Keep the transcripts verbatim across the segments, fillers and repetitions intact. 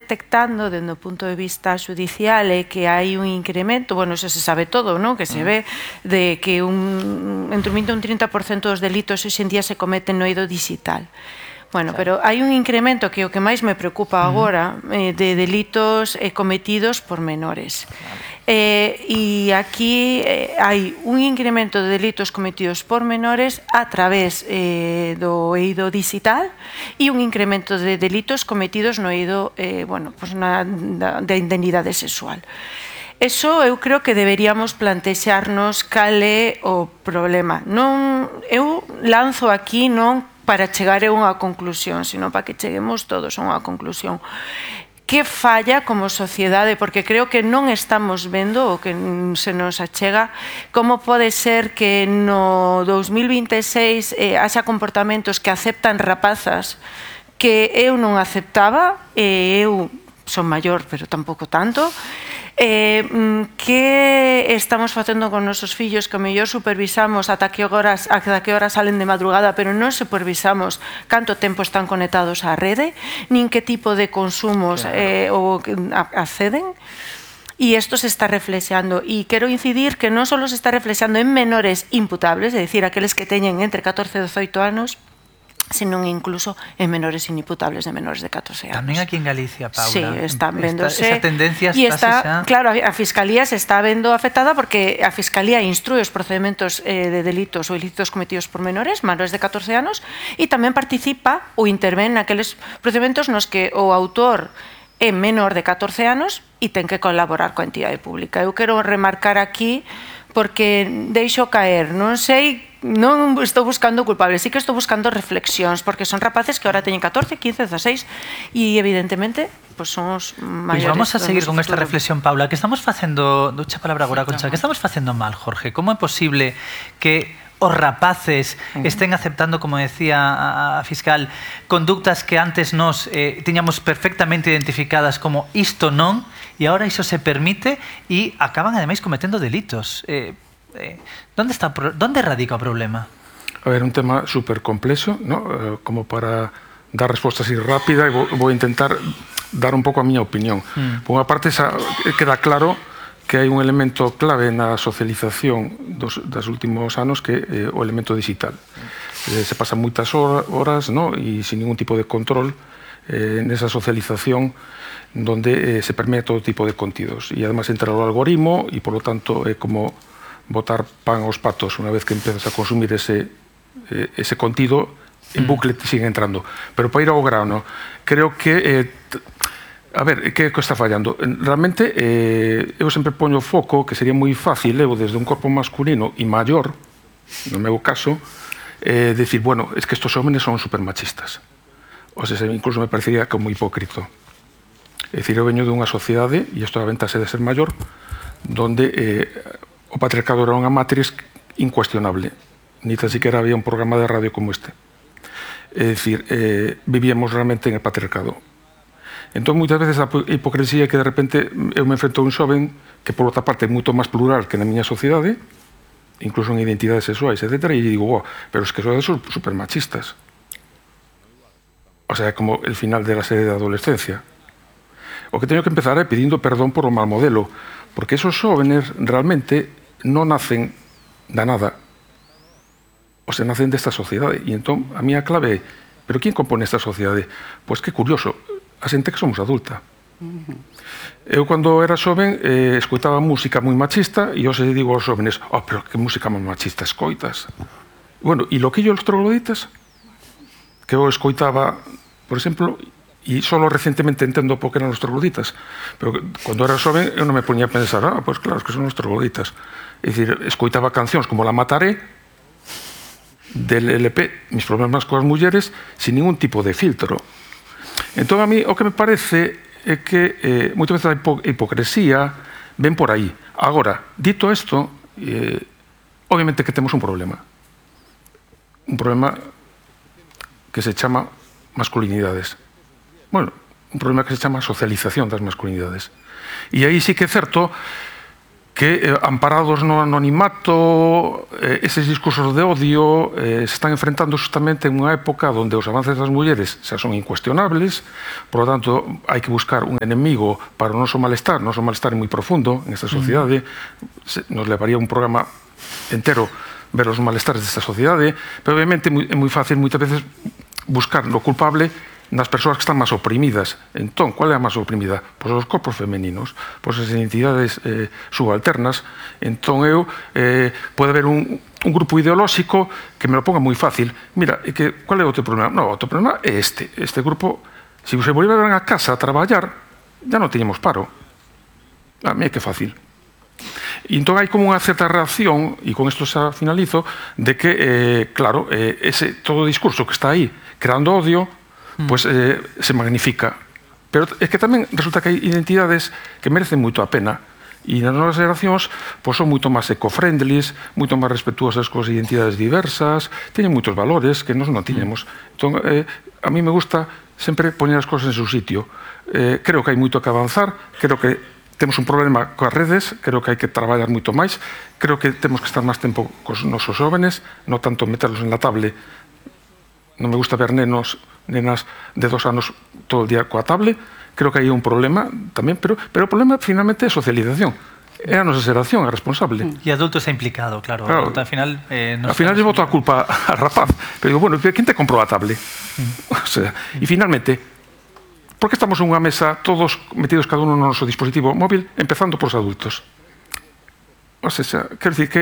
detectando dende o punto de vista judicial é que hai un incremento, bueno, eso se sabe todo, non? Que se ve de que un, entre un vinte e un trinta por cento dos delitos hoxe en día se cometen no eido digital. Bueno, pero hai un incremento que o que máis me preocupa agora eh, de delitos eh, cometidos por menores. Eh, e aquí eh, hai un incremento de delitos cometidos por menores a través eh, do eido digital e un incremento de delitos cometidos no eido eh, bueno, pues na, da, da indemnidade sexual. Eso eu creo que deberíamos plantexarnos cal é o problema. Non, eu lanzo aquí non para chegar a unha conclusión, sino para que cheguemos todos a unha conclusión. Que falla como sociedade? Porque creo que non estamos vendo o que se nos achega como pode ser que no dos mil vinte e seis eh, haxa comportamentos que aceptan rapazas que eu non aceptaba, e eu son maior, pero tampouco tanto. Eh, que estamos facendo con nosos fillos que o mellor supervisamos ata que horas, ata que horas salen de madrugada, pero non supervisamos canto tempo están conectados á rede, nin que tipo de consumos eh, ou acceden. E isto se está reflexando. E quero incidir que non só se está reflexando en menores imputables, é dicir, aqueles que teñen entre catorce e dezoito anos, senón incluso en menores inimputables de menores de catorce anos. Tamén aquí en Galicia, Paula. Sí, están vendose. Esa tendencia está, claro, a Fiscalía se está vendo afectada porque a Fiscalía instrúe os procedementos eh, de delitos ou ilícitos cometidos por menores, menores de catorce anos, e tamén participa ou intervén naqueles procedementos nos que o autor é menor de catorce anos e ten que colaborar coa entidade pública. Eu quero remarcar aquí porque deixo caer, non sei, non estou buscando culpables, sí que estou buscando reflexións, porque son rapaces que ahora teñen catorce, quince, dezaseis e evidentemente pues son os maiores. Pois vamos a seguir con esta reflexión, Paula, que estamos facendo, ducha palabra agora, Concha, que estamos facendo mal, Jorge? Como é posible que os rapaces estén aceptando, como decía a fiscal, conductas que antes nos eh, tiñamos perfectamente identificadas como isto non, e agora iso se permite e acaban ademais cometendo delitos. Eh, eh, ¿dónde está, dónde radica o problema? A ver, un tema súper complexo, ¿no? Eh, como para dar resposta así rápida, e vou, vou intentar dar un pouco a miña opinión. Mm. Por unha parte, esa, queda claro que hai un elemento clave na socialización dos, dos últimos anos que é eh, o elemento digital. Eh, se pasan moitas horas, ¿no? E sin ningún tipo de control eh, nesa socialización donde eh, se permea todo tipo de contidos. E además entra o algoritmo e, por lo tanto, é como botar pan aos patos unha vez que empezas a consumir ese, eh, ese contido, en bucle te sigue entrando. Pero para ir ao grano, creo que... Eh, A ver, que está fallando? Realmente, eh, eu sempre poño foco que sería moi fácil, eu desde un corpo masculino e maior, no meu caso, eh, decir, bueno, es que estos hómenes son supermachistas. O sea, incluso me parecería como hipócrito. É dicir, eu veño dunha sociedade, e isto aventase de ser maior, donde eh, o patriarcado era unha matriz incuestionable. Ni tan siquiera había un programa de radio como este. É dicir, eh, vivíamos realmente en el patriarcado. Entón, moitas veces a hipocresía é que de repente eu me enfrento a un xoven que, por outra parte, é moito máis plural que na miña sociedade, incluso en identidades sexuais, etcétera, e digo, oh, pero es que son super machistas. O sea, é como el final de la serie de adolescencia. O que teño que empezar é pedindo perdón por o mal modelo, porque esos xóvenes realmente non nacen da nada. O sea, nacen desta sociedade. E entón, a miña clave é, pero quen compone esta sociedade? Pois que curioso, a xente que somos adulta. Eu, cando era xoven, eh, escoitaba música moi machista e hoxe digo aos xóvenes, oh, pero que música moi machista escoitas. Bueno, e loquillo los trogloditas, que eu escoitaba, por exemplo, e só recentemente entendo por que eran os trogloditas, pero cando era xoven eu non me poñía a pensar, ah, pois claro, que son os trogloditas. É dicir, escoitaba cancións como La Mataré, del L P, Mis problemas coas mulleres, sin ningún tipo de filtro. Entón, a mí, o que me parece é que eh, moitas veces a hipo hipocresía ven por aí. Agora, dito isto, eh, obviamente que temos un problema. Un problema que se chama masculinidades. Bueno, un problema que se chama socialización das masculinidades. E aí sí que é certo que eh, amparados no anonimato, eh, eses discursos de odio eh, se están enfrentando justamente en unha época onde os avances das mulleres xa son incuestionables, por lo tanto, hai que buscar un enemigo para o noso malestar. O noso malestar é moi profundo en esta sociedade, mm. nos levaría un programa entero ver os malestares desta sociedade, pero obviamente é moi fácil moitas veces buscar lo culpable nas persoas que están máis oprimidas. Entón, cual é a máis oprimida? Pois os corpos femeninos, pois as identidades eh, subalternas. Entón, eu, eh, pode haber un, un grupo ideolóxico que me lo ponga moi fácil. Mira, e que, cual é o teu problema? No, o teu problema é este. Este grupo, se se volveran a casa a traballar, ya non teñemos paro. A mí é que fácil. E entón hai como unha certa reacción, e con isto xa finalizo, de que, eh, claro, eh, ese todo o discurso que está aí creando odio, pois eh, se magnifica. Pero é que tamén resulta que hai identidades que merecen moito a pena. E nas novas generacións pois son moito máis eco-friendlies, moito máis respetuosas coas identidades diversas, teñen moitos valores que nós non tiñemos. Entón, eh, a mí me gusta sempre poñer as cousas en seu sitio. Eh, creo que hai moito que avanzar, creo que temos un problema coas redes, creo que hai que traballar moito máis, creo que temos que estar máis tempo cos nosos jóvenes, non tanto meterlos en la tablet. Non me gusta ver nenos nenas de dos anos todo o día coa tablet. Creo que hai un problema tamén, pero, pero o problema finalmente é a socialización. É a nosa xeración a responsable. E adulto está implicado, claro. claro. Al final, eh, al final lle boto a culpa al rapaz. Pero digo, bueno, quen te comprou a tablet? Mm. O sea, e finalmente, por que estamos en unha mesa todos metidos cada uno no noso dispositivo móvil, empezando por os adultos? O sea, quero dicir que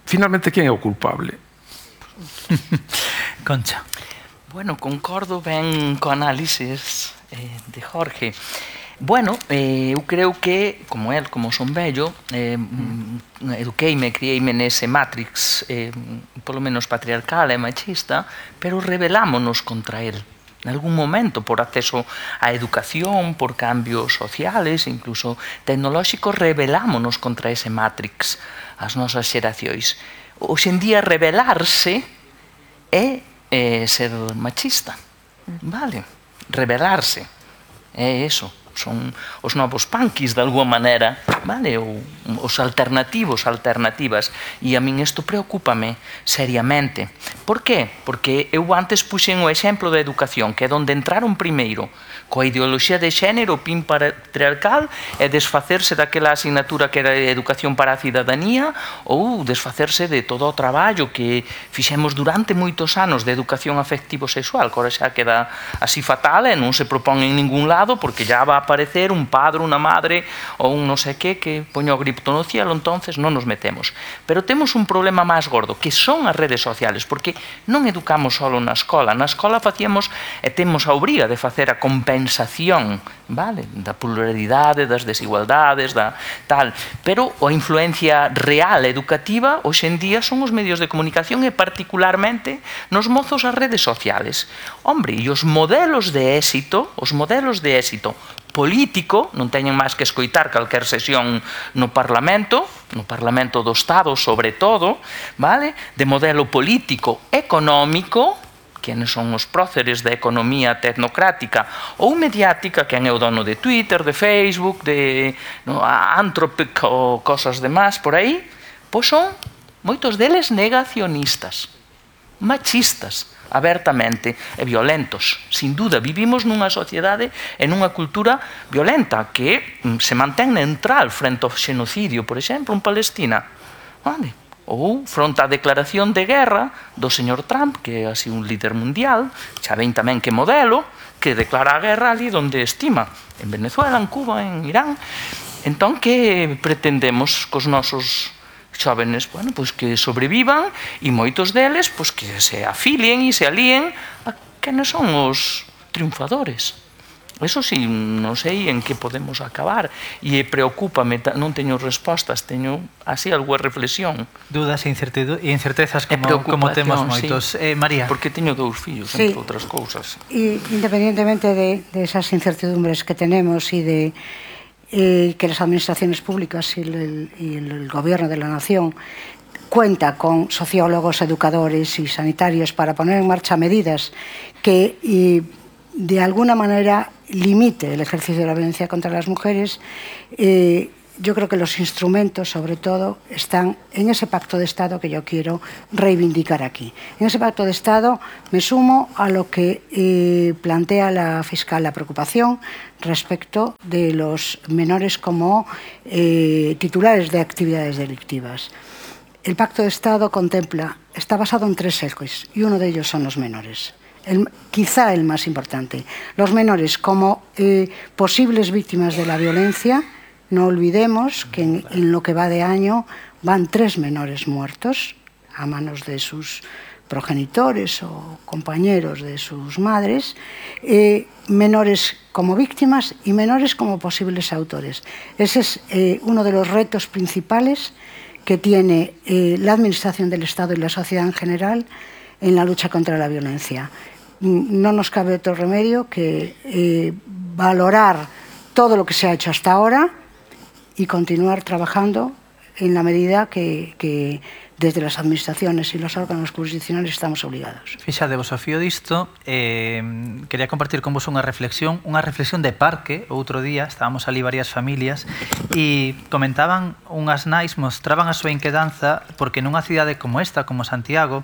finalmente quen é o culpable? Concha. Bueno, concordo ben co análisis eh, de Jorge. Bueno, eh, eu creo que, como el, como son vello, eh, mm. eduqueime, crieime nese matrix, eh, polo menos patriarcal e machista, pero rebelámonos contra el. En algún momento, por acceso á educación, por cambios sociales, incluso tecnolóxicos, rebelámonos contra ese matrix, as nosas xeracións. Hoxe en día, rebelarse é Eh, ser machista, vale, rebelarse, é eso, son os novos punkis de alguma maneira, vale, ou os alternativos, alternativas, e a min isto preocúpame seriamente. Por qué? Porque eu antes puxen o exemplo da educación, que é onde entraron primeiro coa ideoloxía de xénero, pin patriarcal, e desfacerse daquela asignatura que era educación para a cidadanía, ou desfacerse de todo o traballo que fixemos durante moitos anos de educación afectivo-sexual, que ora xa queda así fatal e non se propón en ningún lado, porque já va a aparecer un padre, unha madre, ou un non sei que, que poño o grito no cielo, entonces non nos metemos. Pero temos un problema máis gordo, que son as redes sociales, porque non educamos solo na escola. Na escola facíamos, e temos a obriga de facer a compensación, vale, da pluralidade, das desigualdades, da tal, pero a influencia real educativa hoxe en día son os medios de comunicación e particularmente nos mozos as redes sociales. Hombre, e os modelos de éxito, os modelos de éxito político, non teñen máis que escoitar calquer sesión no Parlamento, no Parlamento do Estado sobre todo, vale, de modelo político económico, quenes son os próceres da economía tecnocrática ou mediática, quen é o dono de Twitter, de Facebook, de no, Anthropic ou cosas demás por aí, pois son moitos deles negacionistas, machistas, abertamente e violentos. Sin duda, vivimos nunha sociedade e nunha cultura violenta que se mantén neutral frente ao xenocidio, por exemplo, en Palestina. Vale? Ou fronte á declaración de guerra do señor Trump, que é así un líder mundial, xa ven tamén que modelo, que declara a guerra ali onde estima, en Venezuela, en Cuba, en Irán. Entón, que pretendemos cos nosos xóvenes, bueno, pois que sobrevivan e moitos deles, pois que se afilien e se alíen a quenes son os triunfadores. Eso sí, non sei en que podemos acabar e preocúpame, non teño respostas, teño así algunha reflexión. Dudas e incertezas como, como temos moitos. Sí. Eh, María. Porque teño dous fillos, sí. entre outras cousas. E independientemente de, de esas incertidumbres que tenemos e de eh, que las administraciones públicas y el, y el gobierno de la nación cuenta con sociólogos, educadores y sanitarios para poner en marcha medidas que y, de alguna manera limite el ejercicio de la violencia contra las mujeres, eh, yo creo que los instrumentos, sobre todo, están en ese pacto de Estado que yo quiero reivindicar aquí. En ese pacto de Estado me sumo a lo que eh, plantea la fiscal, la preocupación respecto de los menores como eh, titulares de actividades delictivas. El pacto de Estado contempla, está basado en tres ejes y uno de ellos son los menores. El, quizá el más importante. Los menores como eh, posibles víctimas de la violencia. No olvidemos que en, en lo que va de año van tres menores muertos a manos de sus progenitores o compañeros de sus madres, eh, menores como víctimas y menores como posibles autores. Ese es eh, uno de los retos principales que tiene eh, la Administración del Estado y la sociedad en general en la lucha contra la violencia. No nos cabe otro remedio que eh, valorar todo lo que se ha hecho hasta ahora y continuar trabajando en la medida que, que desde las administraciones y los órganos jurisdiccionales estamos obligados. Fixadevos ao fío disto, eh, quería compartir con vos unha reflexión, unha reflexión de parque. Outro día estábamos ali varias familias e comentaban unhas nais, mostraban a súa inquedanza porque nunha cidade como esta, como Santiago,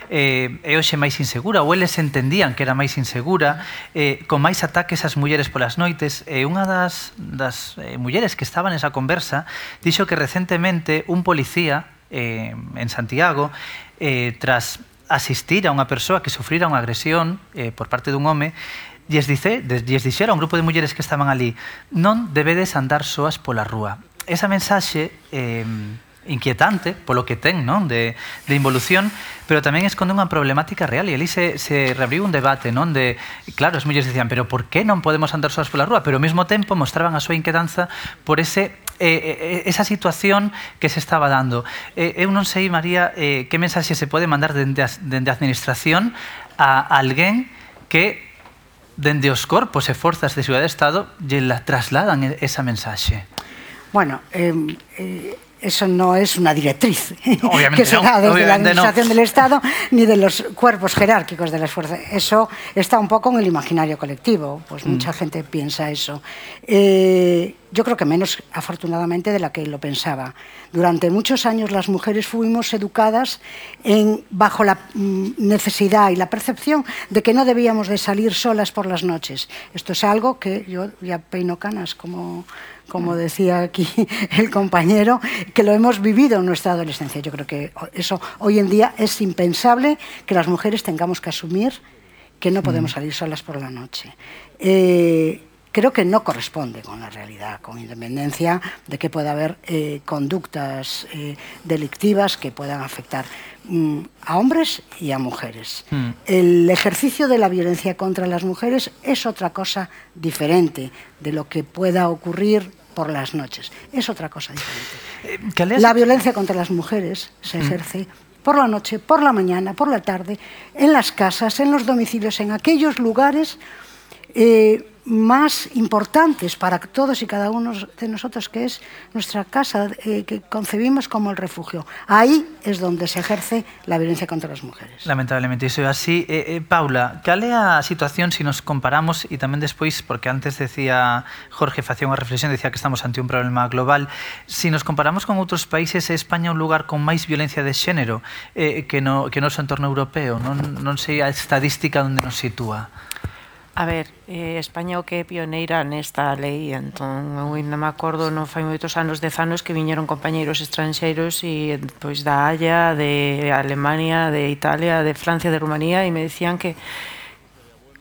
eh, é hoxe máis insegura, ou eles entendían que era máis insegura, eh, con máis ataques ás mulleres polas noites. E unha das, das eh, mulleres que estaban nesa conversa dixo que recentemente un policía Eh, en Santiago, eh, tras asistir a unha persoa que sufrira unha agresión eh, por parte dun home, lles, dice, lles dixera a un grupo de mulleres que estaban ali: non debedes andar soas pola rúa. Esa mensaxe eh, inquietante polo que ten, non, de, de involución, pero tamén esconde unha problemática real, e ali se, se reabriu un debate, non, de, claro, as mulleres dicían, pero por que non podemos andar soas pola rúa? Pero ao mesmo tempo mostraban a súa inquedanza por ese Eh, esa situación que se estaba dando. Eh, eu non sei, María, eh, que mensaxe se pode mandar dende a, dende a administración a alguén que dende os corpos e forzas de seguridade de Estado lle la trasladan esa mensaxe. Bueno, eh, eh, eso no es una directriz obviamente que se no, da desde la Administración no. del Estado ni de los cuerpos jerárquicos de las fuerzas. Eso está un poco en el imaginario colectivo, pues mm. mucha gente piensa eso. Eh, yo creo que menos, afortunadamente, de la que lo pensaba. Durante muchos años las mujeres fuimos educadas en, bajo la mm, necesidad y la percepción de que no debíamos de salir solas por las noches. Esto es algo que yo ya peino canas, como... como decía aquí el compañero, que lo hemos vivido en nuestra adolescencia. Yo creo que eso hoy en día es impensable que las mujeres tengamos que asumir que no podemos salir solas por la noche. Eh, creo que no corresponde con la realidad, con independencia de que pueda haber eh, conductas eh, delictivas que puedan afectar mm, a hombres y a mujeres. Mm. El ejercicio de la violencia contra las mujeres es otra cosa diferente de lo que pueda ocurrir por las noches. Es otra cosa diferente. La violencia contra las mujeres se ejerce mm. por la noche, por la mañana, por la tarde, en las casas, en los domicilios, en aquellos lugares eh, más importantes para todos y cada uno de nosotros, que es nuestra casa, eh, que concebimos como el refugio. Ahí es donde se ejerce la violencia contra las mujeres. Lamentablemente, iso é así. Eh, eh, Paula, cal é a situación se nos comparamos, e tamén despois, porque antes decía Jorge, facía unha reflexión, decía que estamos ante un problema global, se nos comparamos con outros países, é España un lugar con máis violencia de xénero eh, que no que no noso entorno europeo? Non, non sei a estadística onde nos sitúa. A ver, eh, España o que é pioneira nesta lei, entón, eu ainda me acordo, non fai moitos anos, dez anos, que viñeron compañeiros estranxeiros e pois da Haya, de Alemania, de Italia, de Francia, de Rumanía, e me decían que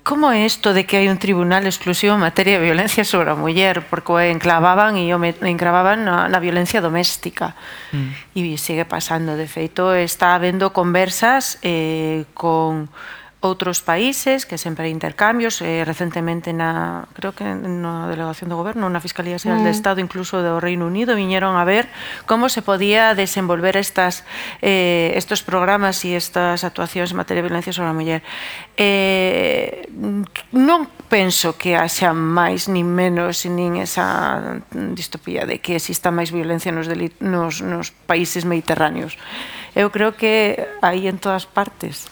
como é isto de que hai un tribunal exclusivo en materia de violencia sobre a muller, porque o enclavaban e o enclavaban na, na violencia doméstica. Mm. E sigue pasando, de feito, está habendo conversas eh, con outros países, que sempre hai intercambios, eh, recentemente na, creo que na delegación do goberno, na Fiscalía Xeral mm. de Estado, incluso do Reino Unido, viñeron a ver como se podía desenvolver estas eh, estos programas e estas actuacións en materia de violencia sobre a muller. Eh, non penso que haxa máis nin menos nin esa distopía de que exista máis violencia nos, nos, nos países mediterráneos. Eu creo que hai en todas partes.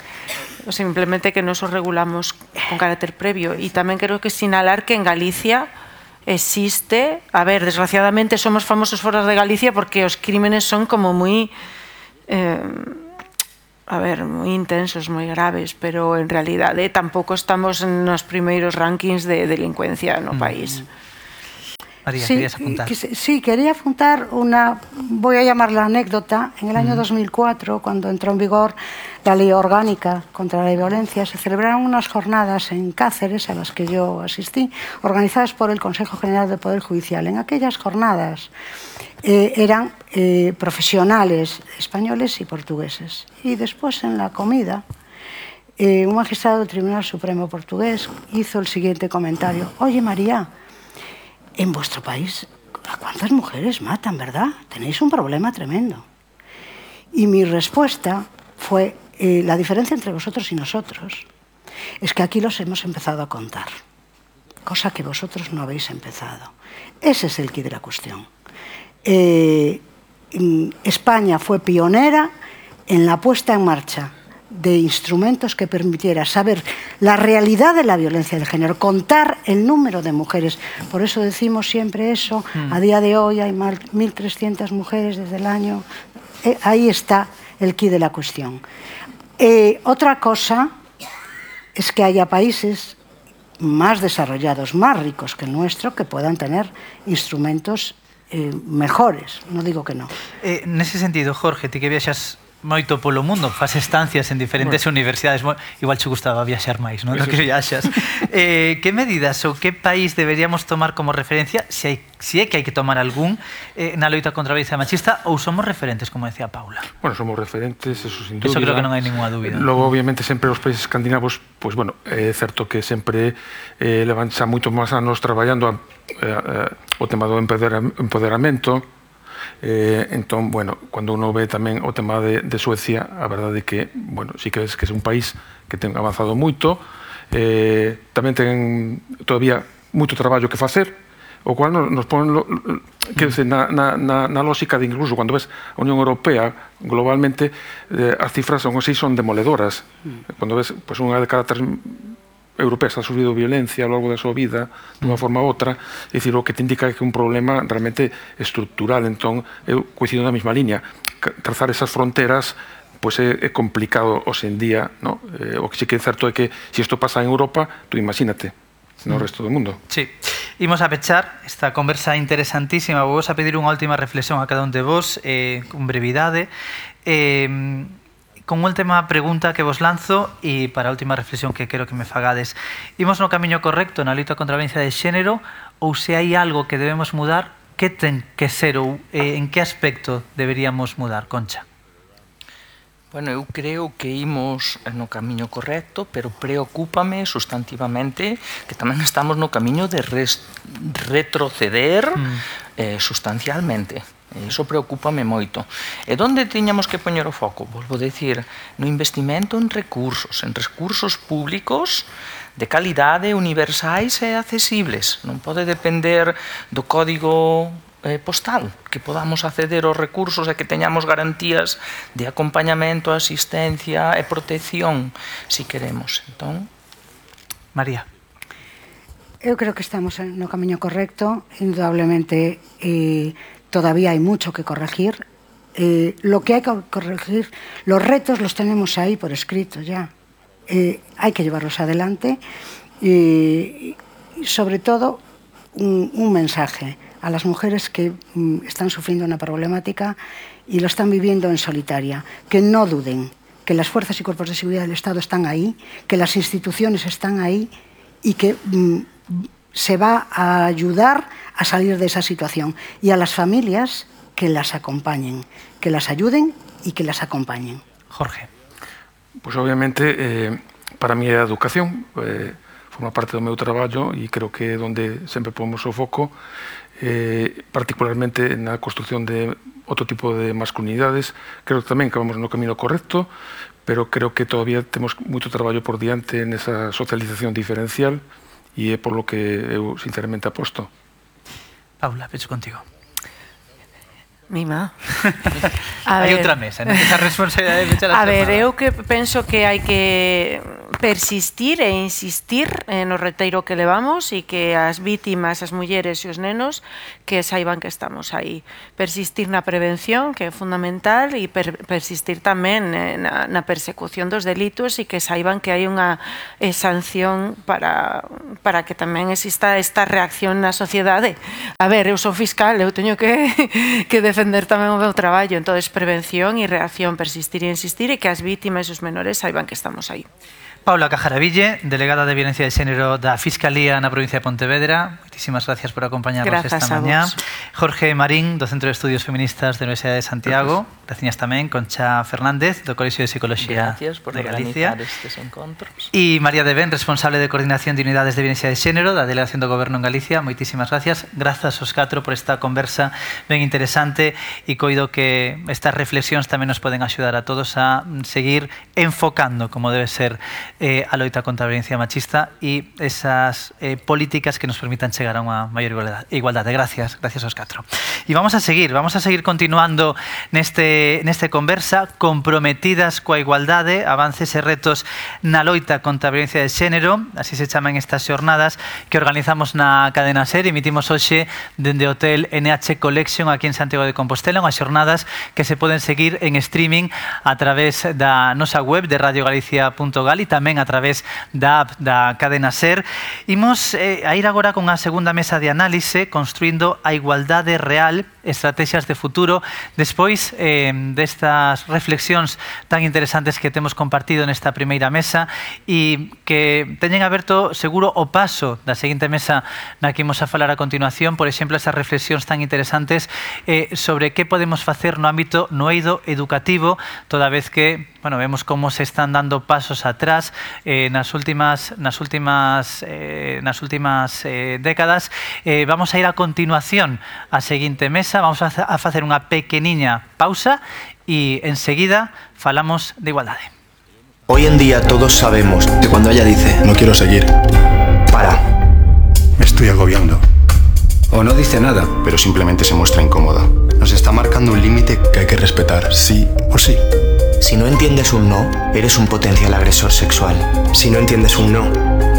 Simplemente que nos os regulamos con carácter previo. E tamén quero que sinalar que en Galicia existe. A ver, desgraciadamente somos famosos fora de Galicia porque os crímenes son como moi... Eh, a ver, moi intensos, moi graves, pero en realidade tampouco estamos nos primeiros rankings de delincuencia no país. María, sí, querías apuntar. Que, sí, quería apuntar una, voy a llamarla anécdota. En el año mm. dos mil cuatro, cuando entró en vigor la ley orgánica contra la violencia, se celebraron unas jornadas en Cáceres, a las que yo asistí, organizadas por el Consejo General del Poder Judicial. En aquellas jornadas eh, eran eh, profesionales españoles y portugueses. Y después, en la comida, eh, un magistrado del Tribunal Supremo portugués hizo el siguiente comentario. Oye, María, en vuestro país, ¿a cuántas mujeres matan, verdad? Tenéis un problema tremendo. Y mi respuesta fue, eh, la diferencia entre vosotros y nosotros es que aquí los hemos empezado a contar, cosa que vosotros no habéis empezado. Ese es el quid de la cuestión. Eh, España fue pionera en la puesta en marcha de instrumentos que permitiera saber la realidad de la violencia de género, contar el número de mujeres. Por eso decimos siempre eso. Mm. A día de hoy hay mil trescientas mujeres desde el año... Eh, ahí está el quid de la cuestión. Eh, otra cosa es que haya países más desarrollados, más ricos que el nuestro, que puedan tener instrumentos eh, mejores. No digo que no. Eh, nese sentido, Jorge, ti que viaxas moito polo mundo, faz estancias en diferentes bueno. universidades, igual che gustaba viaxar máis, non? Do que viaxas. Eh, que medidas ou que país deberíamos tomar como referencia, se, hai, se é que hai que tomar algún, eh, na loita contra a violencia machista, ou somos referentes, como decía Paula? Bueno, somos referentes, eso sin dúbida. Eso creo que non hai ninguna dúbida. Logo, obviamente, sempre os países escandinavos, pois, pues, bueno, é certo que sempre eh, levan xa moito máis anos traballando a, eh, eh, o tema do empoderamento. Eh, entón, bueno, cando uno ve tamén o tema de, de Suecia, a verdade é que, bueno, sí que ves que é un país que ten avanzado moito, eh, tamén ten todavía moito traballo que facer, o cual nos, nos pon lo, que dice, na, na, na, na lógica de incluso cando ves a Unión Europea globalmente, eh, as cifras son así, son demoledoras. Cando ves, pues, unha de cada tres europeas ha sufrido violencia ao longo da súa vida dunha forma ou outra, é dicir, o que te indica que é un problema realmente estructural. Entón, eu coincido na mesma línea. Trazar esas fronteras pois é, é complicado hoxe en día, no? Eh, o que sí que é certo é que se isto pasa en Europa, tú imagínate no resto do mundo. Sí. Imos a pechar esta conversa interesantísima. Vos a pedir unha última reflexión a cada un de vos, eh, con brevidade. Eh, con unha última pregunta que vos lanzo e para a última reflexión que quero que me fagades. Imos no camiño correcto na loita contra a violencia de xénero ou se hai algo que debemos mudar, que ten que ser ou eh, en que aspecto deberíamos mudar, Concha? Bueno, eu creo que imos no camiño correcto, pero preocúpame sustantivamente que tamén estamos no camiño de res, retroceder mm. eh, sustancialmente. Iso preocúpame moito. E onde tiñamos que poñer o foco? Volvo a decir, no investimento en recursos, en recursos públicos de calidade, universais e accesibles. Non pode depender do código eh, postal, que podamos acceder aos recursos e que teñamos garantías de acompañamento, asistencia e protección, si queremos. Entón, María. Eu creo que estamos no camiño correcto, indudablemente. Eh, Todavía hay mucho que corregir. Eh, lo que hay que corregir, los retos los tenemos ahí por escrito ya. Eh, hay que llevarlos adelante. Eh, y sobre todo, un, un mensaje a las mujeres que mm, están sufriendo una problemática y lo están viviendo en solitaria. Que no duden, que las fuerzas y cuerpos de seguridad del Estado están ahí, que las instituciones están ahí y que mm, se va a ayudar a salir de esa situación, y a las familias que las acompañen, que las ayuden y que las acompañen. Jorge. Pues obviamente, eh, para mí a educación eh, forma parte do meu traballo e creo que é onde sempre pomos o foco, eh, particularmente na construcción de outro tipo de masculinidades. Creo que tamén que vamos no camino correcto, pero creo que todavía temos moito traballo por diante nesa socialización diferencial e é por lo que eu sinceramente aposto. Paula, pecho contigo. Mima. Hai outra mesa, non? Esa responsabilidade de pechar a A ver, eu que penso que hai que persistir e insistir eh, no reteiro que levamos e que as vítimas, as mulleres e os nenos que saiban que estamos aí. Persistir na prevención, que é fundamental, e per, persistir tamén eh, na, na persecución dos delitos e que saiban que hai unha eh, sanción para, para que tamén exista esta reacción na sociedade. A ver, eu sou fiscal, eu teño que, que defender tamén o meu traballo, entón prevención e reacción, persistir e insistir e que as vítimas e os menores saiban que estamos aí. Paula Cajaraville, delegada de Violencia de Xénero da Fiscalía na provincia de Pontevedra. Moitísimas gracias por acompañarnos Grazas esta mañá. Jorge Marín, do Centro de Estudios Feministas da Universidade de Santiago. Gracias tamén. Concha Fernández, do Colexio de Psicología de Galicia. Estes encontros. E María de Ben, responsable de Coordinación de Unidades de Violencia de Xénero da Delegación do Goberno en Galicia. Moitísimas gracias. Grazas aos catro por esta conversa ben interesante e coido que estas reflexións tamén nos poden axudar a todos a seguir enfocando como debe ser Eh, a loita contra a violencia machista e esas eh, políticas que nos permitan chegar a unha maior igualdade. Gracias, gracias aos catro. E vamos a seguir, vamos a seguir continuando neste, neste conversa, comprometidas coa igualdade, avances e retos na loita contra a violencia de xénero, así se chaman estas xornadas que organizamos na cadena SER, emitimos hoxe dende o Hotel N H Collection aquí en Santiago de Compostela, unhas xornadas que se poden seguir en streaming a través da nosa web de radio galicia punto gal e tamén a través da app da cadena SER. Imos eh, a ir agora con a segunda mesa de análise, construindo a igualdade real, estrategias de futuro, despois eh, destas reflexións tan interesantes que temos compartido nesta primeira mesa e que teñen aberto seguro o paso da seguinte mesa na que imos a falar a continuación, por exemplo, esas reflexións tan interesantes eh, sobre que podemos facer no ámbito no eido educativo, toda vez que bueno, vemos como se están dando pasos atrás eh, nas últimas nas últimas eh, nas últimas eh, décadas. Eh, vamos a ir a continuación á seguinte mesa, vamos a, a facer unha pequeniña pausa e enseguida falamos de igualdade. Hoy en día todos sabemos que cuando ella dice no quiero seguir, para, me estoy agobiando, o no dice nada, pero simplemente se muestra incómoda, nos está marcando un límite que hay que respetar, sí o sí. Si no entiendes un no, eres un potencial agresor sexual. Si no entiendes un no,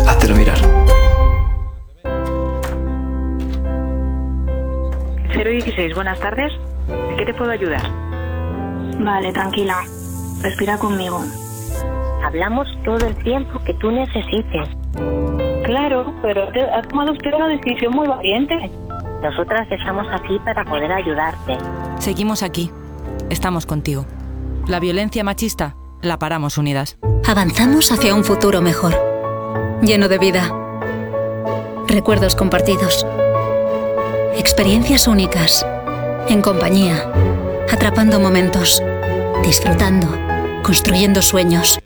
háztelo mirar. cero dieciséis, buenas tardes. ¿En qué te puedo ayudar? Vale, tranquila. Respira conmigo. Hablamos todo el tiempo que tú necesites. Claro, pero ha tomado usted una decisión muy valiente. Nosotras estamos aquí para poder ayudarte. Seguimos aquí. Estamos contigo. La violencia machista la paramos unidas. Avanzamos hacia un futuro mejor, lleno de vida, recuerdos compartidos, experiencias únicas, en compañía, atrapando momentos, disfrutando, construyendo sueños.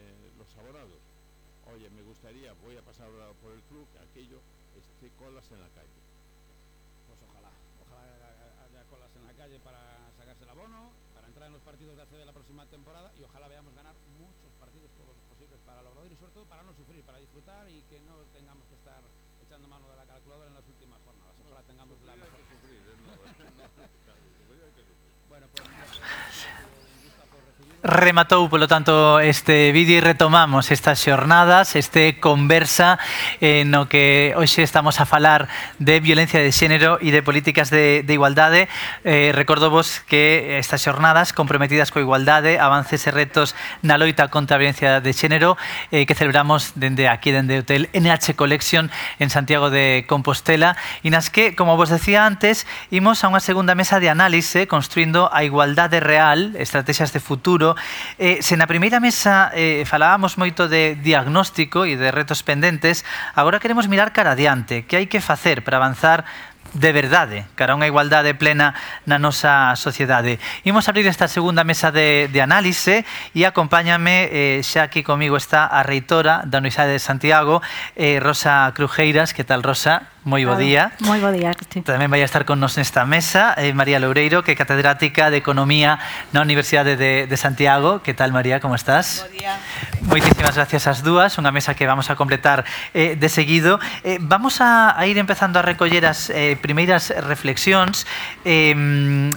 Rematou, polo tanto, este vídeo e retomamos estas xornadas, este conversa eh, no que hoxe estamos a falar de violencia de xénero e de políticas de, de igualdade. Eh, recordo vos que estas xornadas comprometidas coa igualdade, avances e retos na loita contra a violencia de xénero eh, que celebramos dende aquí, dende o Hotel N H Collection en Santiago de Compostela e nas que, como vos decía antes, imos a unha segunda mesa de análise construindo a igualdade real, estrategias de futuro. Eh, se na primeira mesa eh, falábamos moito de diagnóstico e de retos pendentes, agora queremos mirar cara adiante, que hai que facer para avanzar de verdade cara a unha igualdade plena na nosa sociedade. Imos abrir esta segunda mesa de, de análise e acompáñame, eh, xa aquí comigo está a reitora da Universidade de Santiago, eh, Rosa Crujeiras. Que tal, Rosa? moi bo día. Moi bo día. Tamén vai a estar con nos nesta mesa eh, María Loureiro, que é catedrática de Economía na Universidade de, de Santiago. Que tal, María, como estás? Bo día. Moitísimas gracias ás dúas, unha mesa que vamos a completar eh, de seguido. Eh, vamos a, a ir empezando a recoller as eh, primeiras reflexións eh,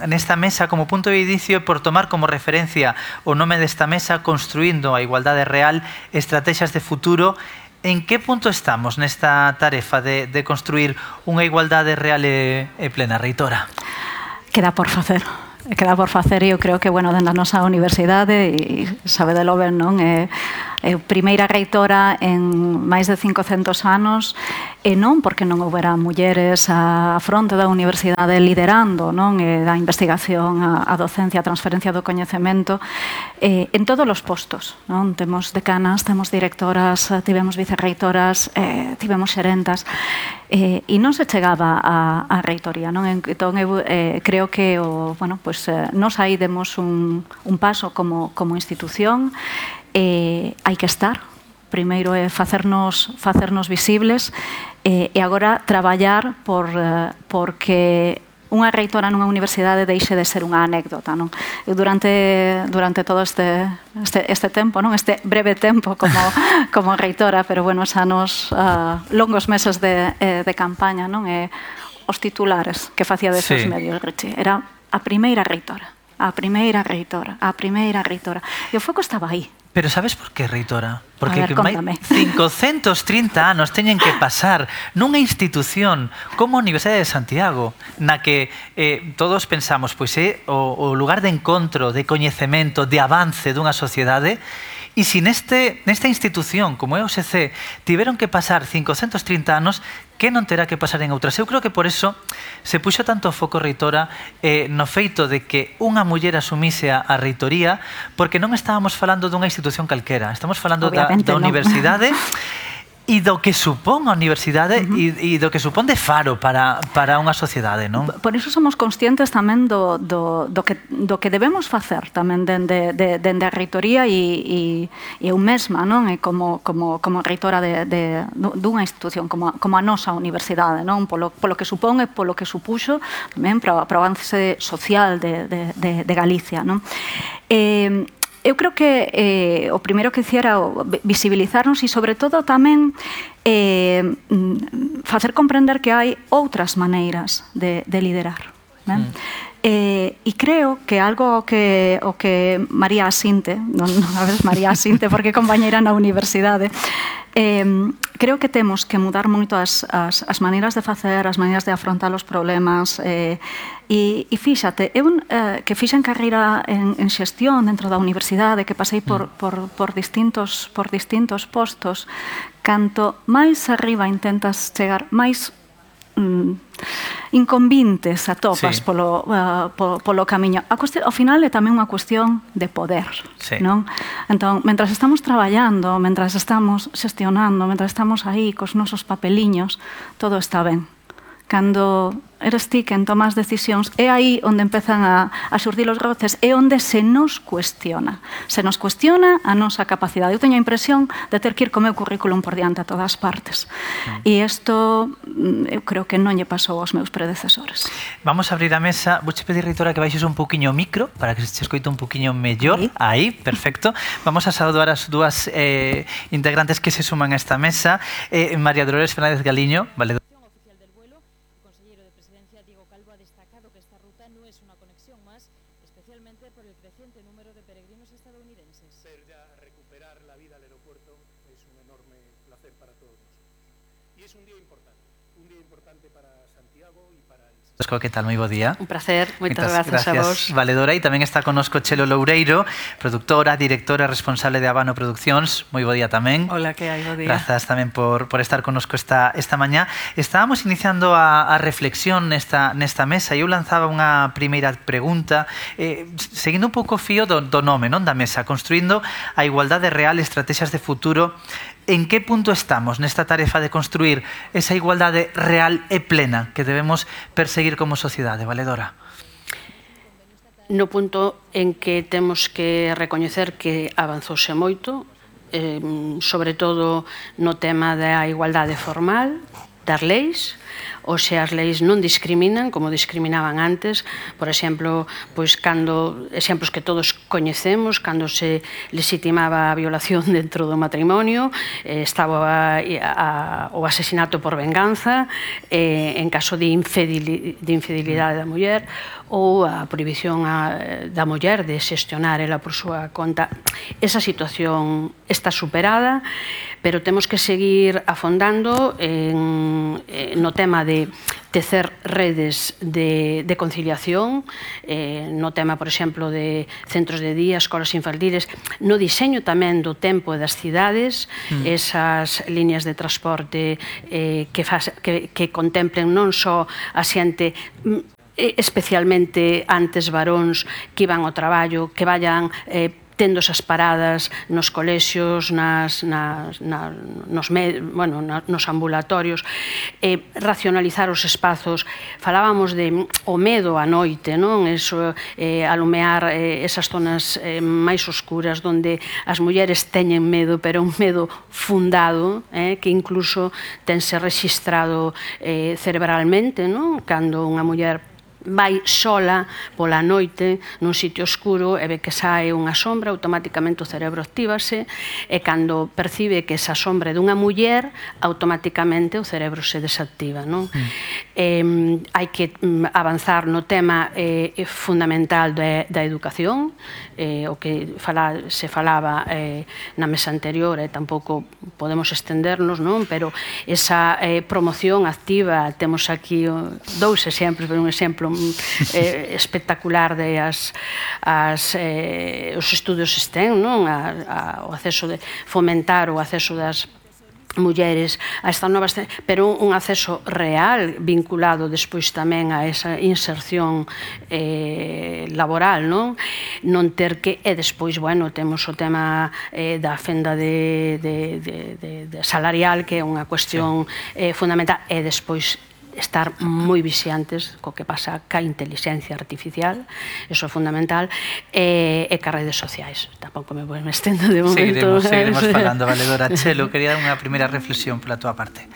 nesta mesa como punto de inicio por tomar como referencia o nome desta mesa, Construindo a Igualdade Real, Estrategias de Futuro. En que punto estamos nesta tarefa de, de construir unha igualdade real e, e plena, reitora? Queda por facer. Queda por facer e eu creo que, bueno, dentro da nosa universidade, e sabe de lo ben, non? É, é primeira reitora en máis de cincocentos anos, e non porque non houbera mulleres á fronte da universidade liderando, non? E da investigación, a, a docencia, a transferencia do coñecemento, eh, en todos os postos, non? Temos decanas, temos directoras, tivemos vicerreitoras, eh, tivemos xerentas, eh, e non se chegaba a, a reitoría, non? Entón, eu eh, creo que o, bueno, pues, eh, nos aí demos un, un paso como, como institución, eh, hai que estar, primeiro é facernos, facernos visibles, eh, e agora traballar por, eh, porque unha reitora nunha universidade deixe de ser unha anécdota, non? Eu durante durante todo este este este tempo, non? Este breve tempo como como reitora, pero bueno, os anos uh, longos meses de eh, de campaña, non? E os titulares que facía deses sí. medios, Richie, era a primeira reitora, a primeira reitora, a primeira reitora. E o foco estaba aí. Pero sabes por qué, reitora? Porque ver, que cincocentos trinta anos teñen que pasar nunha institución como a Universidade de Santiago, na que eh, todos pensamos, pois é o, o lugar de encontro, de coñecemento, de avance dunha sociedade, e se neste, nesta institución, como é o U S C, tiveron que pasar cincocentos trinta anos, que non terá que pasar en outras? Eu creo que por eso se puxo tanto foco, reitora, eh, no feito de que unha muller asumise a, a reitoría, porque non estábamos falando dunha institución calquera, estamos falando da, da universidade e do que supón a universidade uh-huh. e, e do que supón de faro para, para unha sociedade, non? Por iso somos conscientes tamén do, do, do, que, do que debemos facer tamén dende, de, dende a reitoría e, e, e eu mesma, non? E como, como, como reitora de, de, dunha institución como a, como a nosa universidade, non? Polo, polo que supón e polo que supuxo tamén para, para o avance social de, de, de, de Galicia, non? Eh, Eu creo que eh, o primeiro que dicía era visibilizarnos e, sobre todo, tamén eh, facer comprender que hai outras maneiras de, de liderar. Ben? Mm. Eh, e creo que algo que, o que María Asinte, non, non a ver, María Asinte, porque é compañeira na universidade, eh, creo que temos que mudar moito as, as, as maneiras de facer, as maneiras de afrontar os problemas, eh, e, e fíxate, eu eh, que fixen carreira en, en xestión dentro da universidade, que pasei por, por, por, distintos, por distintos postos, canto máis arriba intentas chegar, máis mm, inconvintes atopas sí. polo, uh, polo, polo camiño. A cuestión, ao final é tamén unha cuestión de poder, sí. non? Entón, mentras estamos traballando, mentras estamos xestionando, mentras estamos aí cos nosos papeliños, todo está ben. Cando eres ti quen tomas decisións, é aí onde empezan a, a xurdir os roces, é onde se nos cuestiona. Se nos cuestiona a nosa capacidade. Eu teño a impresión de ter que ir co meu currículum por diante a todas partes. Mm. E isto, eu creo que non lle pasou aos meus predecesores. Vamos a abrir a mesa. Vouche pedir, reitora, que baixes un poquinho o micro para que se escoite un poquinho mellor. Aí, aí perfecto. Vamos a saudar as dúas eh, integrantes que se suman a esta mesa. Eh, María Dolores Fernández Galiño, vale. ¿Qué tal? Moi bo día. Un placer, moitas grazas a vos. Valedora, e tamén está connosco Chelo Loureiro, productora, directora responsable de Habano Produccións. Moi bo día tamén. Hola, que hai, bo día. Grazas tamén por, por estar connosco esta, esta mañá. Estábamos iniciando a, a reflexión nesta, nesta mesa e eu lanzaba unha primeira pregunta eh, seguindo un pouco o fío do, do nome, non, da mesa, Construindo a Igualdade Real, Estrategias de Futuro. En que punto estamos nesta tarefa de construir esa igualdade real e plena que debemos perseguir como sociedade, valedora? No punto en que temos que recoñecer que avanzouse moito, eh, sobre todo no tema da igualdade formal, das leis, ou se as leis non discriminan como discriminaban antes, por exemplo, pois cando exemplos que todos coñecemos, cando se legitimaba a violación dentro do matrimonio, eh, estaba a, a, o asesinato por venganza, eh, en caso de, infideli, de infidelidade da muller, ou a prohibición a, da muller de xestionar ela por súa conta. Esa situación está superada, pero temos que seguir afondando en, no tema de tecer redes de, de conciliación, eh, no tema, por exemplo, de centros de día, escolas infantiles, no diseño tamén do tempo das cidades, mm. esas líneas de transporte eh, que, faz, que, que contemplen non só a xente especialmente antes varóns que iban ao traballo, que vayan eh, tendo esas paradas nos colexios, nas, nas, nas, nos, med, bueno, nos ambulatorios, eh, racionalizar os espazos. Falábamos de o medo á noite, non? Eso, eh, alumear eh, esas zonas eh, máis oscuras onde as mulleres teñen medo, pero un medo fundado, eh, que incluso tense registrado eh, cerebralmente, non? Cando unha muller vai sola pola noite nun sitio oscuro e ve que sae unha sombra, automáticamente o cerebro actívase e cando percibe que esa sombra é dunha muller, automáticamente o cerebro se desactiva, non? Mm. Eh, hai que avanzar no tema eh, fundamental de, da educación, eh, o que fala, se falaba eh, na mesa anterior e tampouco podemos estendernos, non? Pero esa eh, promoción activa, temos aquí oh, dous exemplos, pero un exemplo eh, espectacular de as, as, eh, os estudios STEM, non? A, a, o acceso de fomentar o acceso das mulleres a estas novas, pero un acceso real vinculado despois tamén a esa inserción eh, laboral, non? Non ter que, e despois, bueno, temos o tema eh, da fenda de, de, de, de, de salarial, que é unha cuestión eh, fundamental, e despois estar moi vixiantes co que pasa ca inteligencia artificial, eso é fundamental, e, e ca redes sociais. Tampouco me vou me estendo de momento. Seguiremos, seguiremos falando, Valedora. Chelo, quería dar unha primeira reflexión pola túa parte.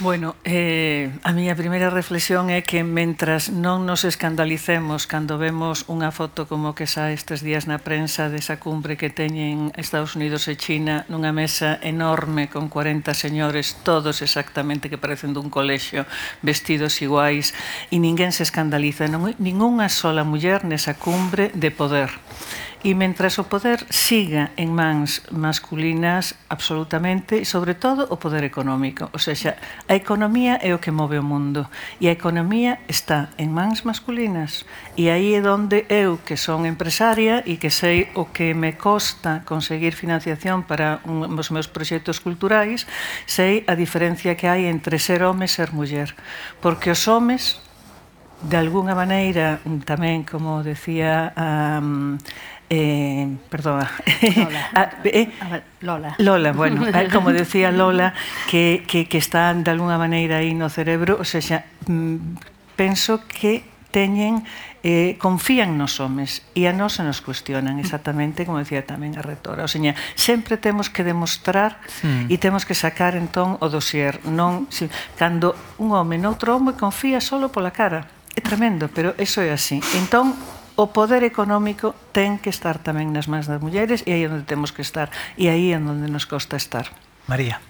Bueno, eh, a miña primeira reflexión é que mentras non nos escandalicemos cando vemos unha foto como que xa estes días na prensa desa cumbre que teñen Estados Unidos e China nunha mesa enorme con cuarenta señores, todos exactamente que parecen dun colexio, vestidos iguais, e ninguén se escandaliza, non hai ningunha sola muller nesa cumbre de poder. E mentras o poder siga en mans masculinas absolutamente, e sobre todo o poder económico, ou seja, a economía é o que move o mundo e a economía está en mans masculinas, e aí é onde eu, que son empresaria e que sei o que me costa conseguir financiación para un, os meus proxectos culturais, sei a diferencia que hai entre ser home e ser muller, porque os homes de alguna maneira tamén, como decía um, Eh, perdona Lola. ah, eh, Lola Lola, bueno, como decía Lola que, que, que están de alguna maneira aí no cerebro, o sea, penso que teñen eh, confían nos homes e a nós se nos cuestionan exactamente como decía tamén a rectora, o sea, sempre temos que demostrar mm. e temos que sacar entón o dossier, non si, cando un home noutro home confía solo pola cara, é tremendo, pero eso é así. Entón o poder económico ten que estar tamén nas mans das mulleres e aí é onde temos que estar e aí é onde nos costa estar. María.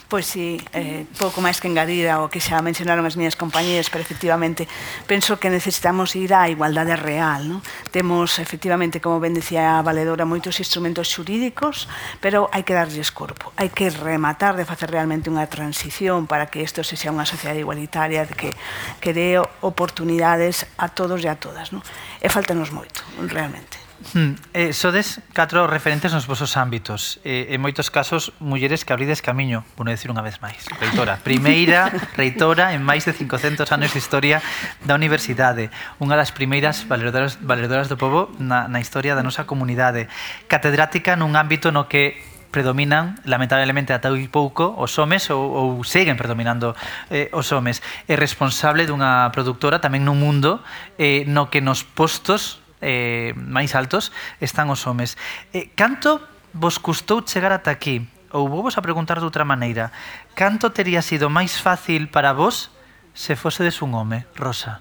Pois si, eh, pouco máis que engadir ao que xa mencionaron as miñas compañeras, pero efectivamente penso que necesitamos ir á igualdade real, non? Temos efectivamente, como ben decía a Valedora, moitos instrumentos xurídicos, pero hai que darlles corpo, hai que rematar de facer realmente unha transición para que isto sexa unha sociedade igualitaria que, que dé oportunidades a todos e a todas, non? E faltanos moito, realmente. Hmm. Eh, sodes catro referentes nos vosos ámbitos, eh, en moitos casos mulleres que abrides camiño, vou decir unha vez máis, reitora, primeira reitora en máis de cincocentos anos de historia da universidade, unha das primeiras valedoras, valedoras do pobo na, na historia da nosa comunidade, catedrática nun ámbito no que predominan, lamentablemente, ata hai pouco os homes ou, ou seguen predominando eh, os homes, é responsable dunha productora tamén nun mundo eh, no que nos postos eh, máis altos están os homes. Eh, canto vos custou chegar ata aquí? ou vos a preguntar de outra maneira, canto tería sido máis fácil para vos se fosedes un home, Rosa?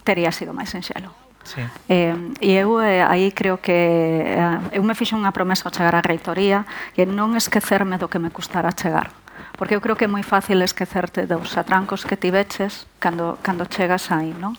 Tería sido máis sinxelo. Sí. Eh, e eu eh, aí creo que eh, eu me fixo unha promesa ao chegar á reitoría que non esquecerme do que me custara chegar, porque eu creo que é moi fácil esquecerte dos atrancos que tiveches cando, cando chegas aí, non?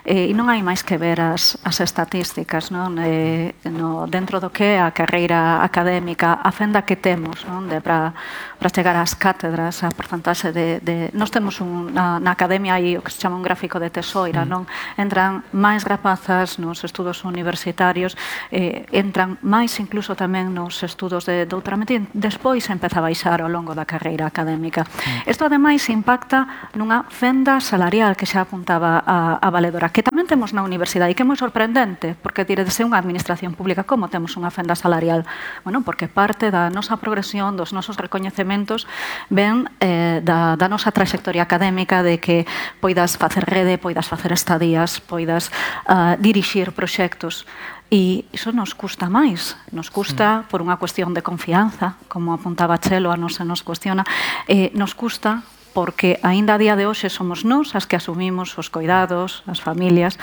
E, e non hai máis que ver as, as estatísticas, non? E, no, dentro do que é a carreira académica, a fenda que temos, non? De, para, para chegar ás cátedras, a porcentaxe de... de nós temos un, na, na academia aí o que se chama un gráfico de tesoira, mm. non? Entran máis rapazas nos estudos universitarios, eh, entran máis incluso tamén nos estudos de doutoramento e despois empeza a baixar ao longo da carreira académica. Isto, mm. ademais, impacta nunha fenda salarial que xa apuntaba a, a valedora, que tamén temos na universidade e que é moi sorprendente, porque diredes é unha administración pública, como temos unha fenda salarial? Bueno, porque parte da nosa progresión, dos nosos recoñecementos, ven eh, da, da nosa trayectoria académica, de que poidas facer rede, poidas facer estadías, poidas uh, dirixir proxectos. E iso nos custa máis, nos custa por unha cuestión de confianza, como apuntaba Chelo, a nos se nos cuestiona, eh, nos custa porque aínda a día de hoxe somos nós as que asumimos os cuidados, as familias,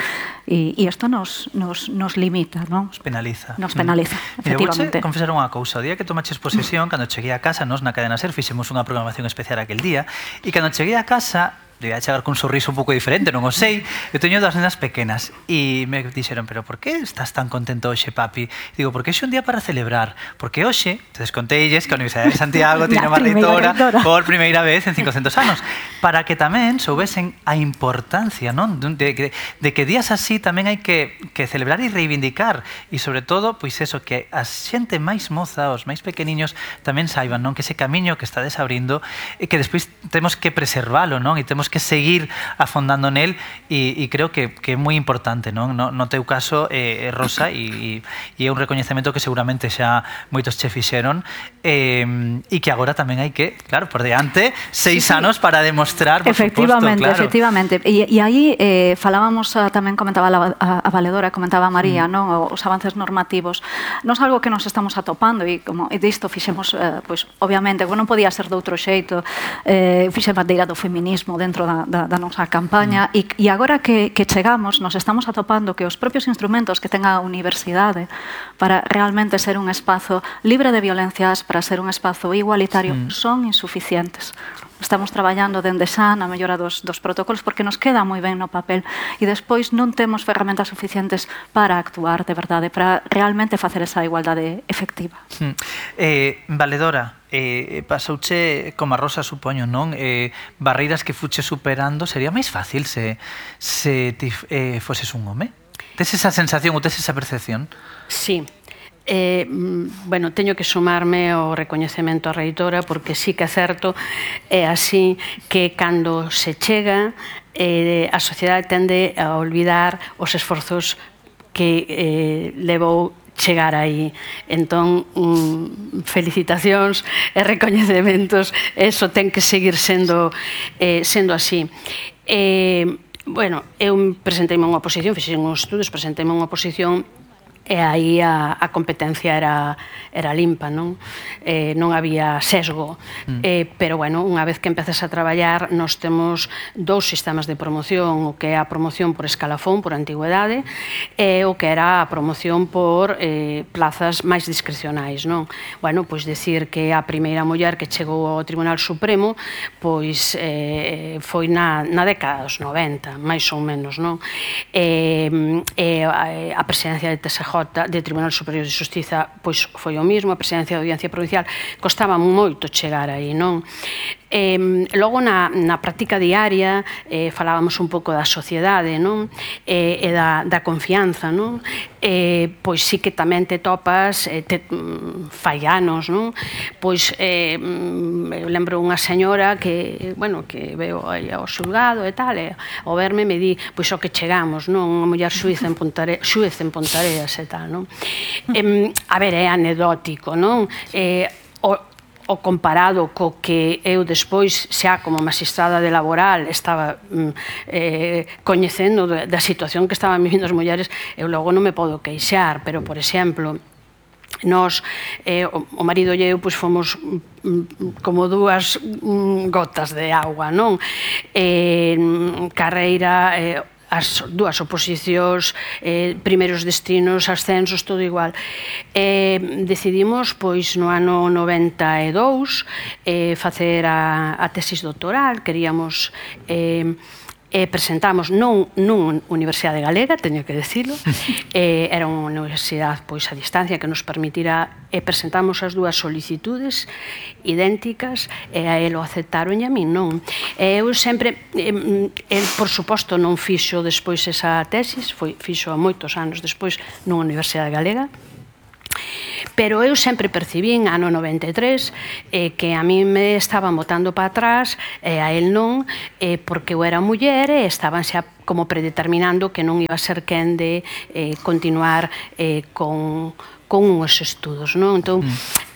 e, e isto nos, nos, nos limita, non? Nos penaliza. Nos penaliza, mm. efectivamente. Mira, vou confesar unha cousa. O día que tomaches posesión, cando cheguei a casa, nos na Cadena Ser fixemos unha programación especial aquel día, e cando cheguei a casa, debía chegar con un sorriso un pouco diferente, non o sei. Eu teño dúas nenas pequenas e me dixeron, pero por que estás tan contento hoxe, papi? E digo, porque hoxe é un día para celebrar, porque hoxe, te desconteilles que a Universidade de Santiago tiña unha reitora por primeira vez en cincocentos anos, para que tamén soubesen a importancia, non? De, de, de que días así tamén hai que, que celebrar e reivindicar, e sobre todo, pois eso, que a xente máis moza, os máis pequeniños, tamén saiban, non? Que ese camiño que está desabrindo e que despois temos que preservalo, non? E temos que seguir afondando nel, e, e creo que, que é moi importante, non? No, no teu caso, eh, Rosa, e, e é un recoñecemento que seguramente xa moitos che fixeron, eh, e que agora tamén hai que, claro, por diante, seis sí, sí. anos para demostrar, por efectivamente, suposto, claro. Efectivamente, e, e aí eh, falábamos, a, tamén comentaba a, a, a valedora, comentaba a María, mm. non? Os avances normativos, non é algo que nos estamos atopando, e como e disto fixemos, eh, pois, obviamente, non podía ser de outro xeito, eh, fixe bandeira do feminismo dentro da, da, da nosa campaña, mm. e, e agora que, que chegamos nos estamos atopando que os propios instrumentos que ten a universidade para realmente ser un espazo libre de violencias, para ser un espazo igualitario, mm. son insuficientes. Estamos traballando dende xa na mellora dos, dos protocolos porque nos queda moi ben no papel e despois non temos ferramentas suficientes para actuar de verdade, para realmente facer esa igualdade efectiva. Mm. Eh, valedora, eh, pasouche como a Rosa, supoño, non? Eh, barreiras que fuche superando, sería máis fácil se, se ti eh, foses un home? Tes esa sensación ou tes esa percepción? Sí. Eh, bueno, teño que sumarme ao recoñecemento á reitora porque sí que é certo, é así que cando se chega eh, a sociedade tende a olvidar os esforzos que eh, levou chegar aí. Entón, mm, felicitacións e recoñecementos, eso ten que seguir sendo, eh, sendo así. Eh, bueno, eu presenteime unha oposición, fixen uns estudos, presenteime unha oposición e aí a, a competencia era, era limpa, non? Eh, non había sesgo. Mm. Eh, pero, bueno, unha vez que empezas a traballar, nós temos dous sistemas de promoción, o que é a promoción por escalafón, por antigüedade, e o que era a promoción por eh, plazas máis discrecionais, non? Bueno, pois decir que a primeira muller que chegou ao Tribunal Supremo, pois eh, foi na, na década dos noventa, máis ou menos, non? E eh, eh, a presidencia de T S J de Tribunal Superior de Xustiza pois foi o mismo, a presidencia da Audiencia Provincial costaba moito chegar aí, non? Eh, logo na, na práctica diaria eh, falábamos un pouco da sociedade, non? Eh, e da, da confianza, non? Eh, pois sí que tamén te topas eh, te, fai anos, non? Pois eh, eu lembro unha señora que, bueno, que veo aí ao xulgado e tal, e ao verme me di, pois o que chegamos, non? Unha muller xuíz en Pontareas, xuíz en Pontareas e tal, non? Eh, a ver, é anecdótico, non? Eh, o o comparado co que eu despois, xa como magistrada de laboral, estaba eh, coñecendo da situación que estaban vivindo as mulleres, eu logo non me podo queixar, pero, por exemplo, Nós, eh, o marido e eu, pois, fomos como dúas gotas de agua, non? Eh, carreira, eh, as dúas oposicións, eh, primeiros destinos, ascensos, todo igual. Eh, decidimos, pois, no ano noventa e dous, eh, facer a, a tesis doctoral. Queríamos... Eh, e presentamos non nunha universidade galega, teño que decirlo, eh, era unha universidade pois a distancia que nos permitira, e presentamos as dúas solicitudes idénticas, e a ele o aceptaron e a min non. E eu sempre, eh, el por suposto non fixo despois esa tesis, foi, fixo moitos anos despois nunha universidade galega, pero eu sempre percibín, ano noventa e tres, eh, que a mí me estaban botando para atrás, e a él non, eh, porque eu era muller e estaban xa como predeterminando que non iba a ser quen de eh, continuar eh, con, con uns estudos, non? Entón,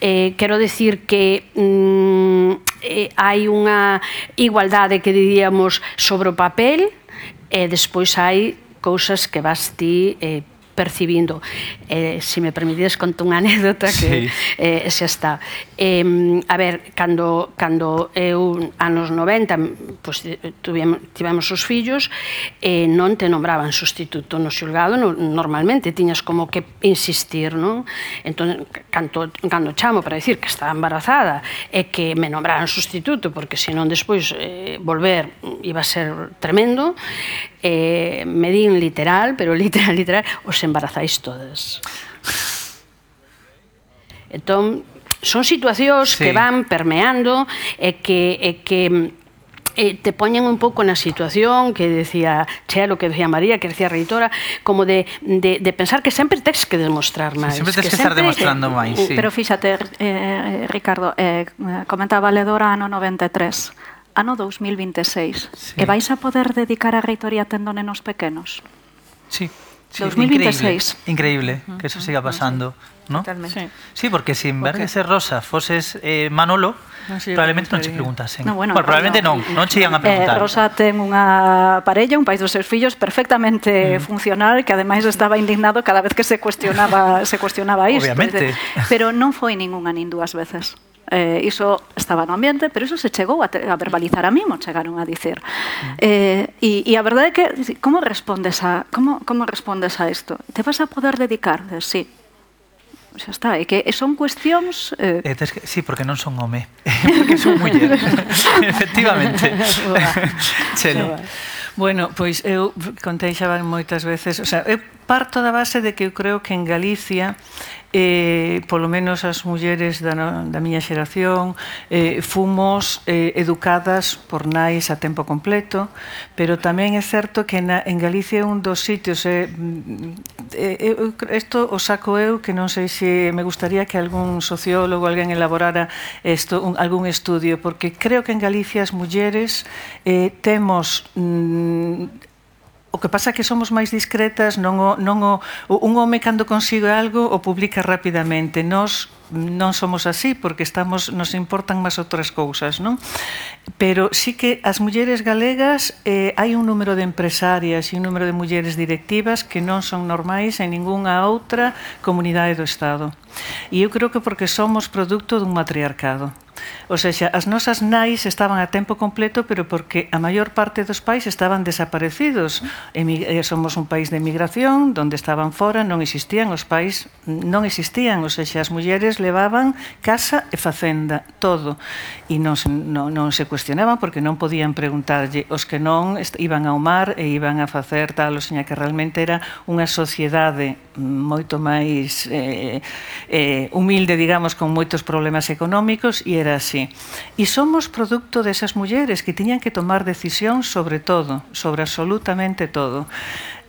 eh, quero decir que mm, eh, hai unha igualdade que diríamos sobre o papel, e despois hai cousas que vas ti eh, percibindo. Eh, se me permitides conto unha anécdota que sí. eh, xa está. Eh, a ver, cando, cando eu, anos noventa, pues, tivemos, tivemos os fillos, eh, non te nombraban sustituto no xulgado, no, normalmente tiñas como que insistir, non? Entón, cando, cando chamo para decir que estaba embarazada e que me nombraran sustituto, porque senón despois eh, volver iba a ser tremendo, eh, me din literal, pero literal, literal, os embarazáis todas. Entón, son situacións sí. que van permeando e que, e que eh, te poñen un pouco na situación que decía Chea, lo que decía María, que decía a reitora, como de, de, de pensar que sempre tens que demostrar máis. Sí, sempre tens que, que estar demostrando máis, sí. Pero fíxate, eh, Ricardo, eh, comenta a valedora ano noventa e tres, ano dous mil vinte e seis, sí. E vais a poder dedicar a reitoría tendo nenos pequenos? Sí. Sí, dous mil vinte e seis. Increíble, increíble que eso siga pasando, ¿no? Totalmente. Sí, porque si en vez de ser Rosa foses eh, Manolo, no, sí, probablemente non che preguntasen. No, bueno, bueno, probablemente non, non che ian a preguntar. Eh, Rosa ten unha parella, un país dos seus fillos perfectamente mm. funcional, que ademais estaba indignado cada vez que se cuestionaba se cuestionaba isto. Obviamente. Pero non foi ningunha nin dúas veces. Eh, iso estaba no ambiente, pero iso se chegou a, te, a verbalizar a mimo, chegaron a dicir. Mm. Eh, e, e a verdade é que, como respondes a, como, como respondes a isto? Te vas a poder dedicar? Sí. Xa está, é que son cuestións... Eh... Eh, que, sí, porque non son home, porque son muller. Efectivamente. Chelo. Bueno, pois eu contei xa moitas veces, o sea, eu parto da base de que eu creo que en Galicia eh, polo menos as mulleres da, no, da miña xeración eh, fomos eh, educadas por nais a tempo completo, pero tamén é certo que na, en Galicia é un dos sitios eh, eh, isto o saco eu, que non sei se me gustaría que algún sociólogo, alguén elaborara esto, un, algún estudio, porque creo que en Galicia as mulleres eh, temos mm, o que pasa é que somos máis discretas, non o, non o, un home cando consigue algo o publica rapidamente. Nós non somos así porque estamos, nos importan máis outras cousas, non? Pero sí que as mulleres galegas eh, hai un número de empresarias e un número de mulleres directivas que non son normais en ningunha outra comunidade do Estado. E eu creo que porque somos producto dun matriarcado. O sea, as nosas nais estaban a tempo completo, pero porque a maior parte dos pais estaban desaparecidos. Somos un país de emigración, donde estaban fora, non existían, os pais non existían, o sea, as mulleres levaban casa e facenda, todo. E non, non, non se cuestionaban porque non podían preguntarlle. Os que non iban ao mar e iban a facer tal, o sea, que realmente era unha sociedade moito máis eh, eh, humilde, digamos, con moitos problemas económicos, e era así. E somos producto desas mulleres que tiñan que tomar decisión sobre todo, sobre absolutamente todo.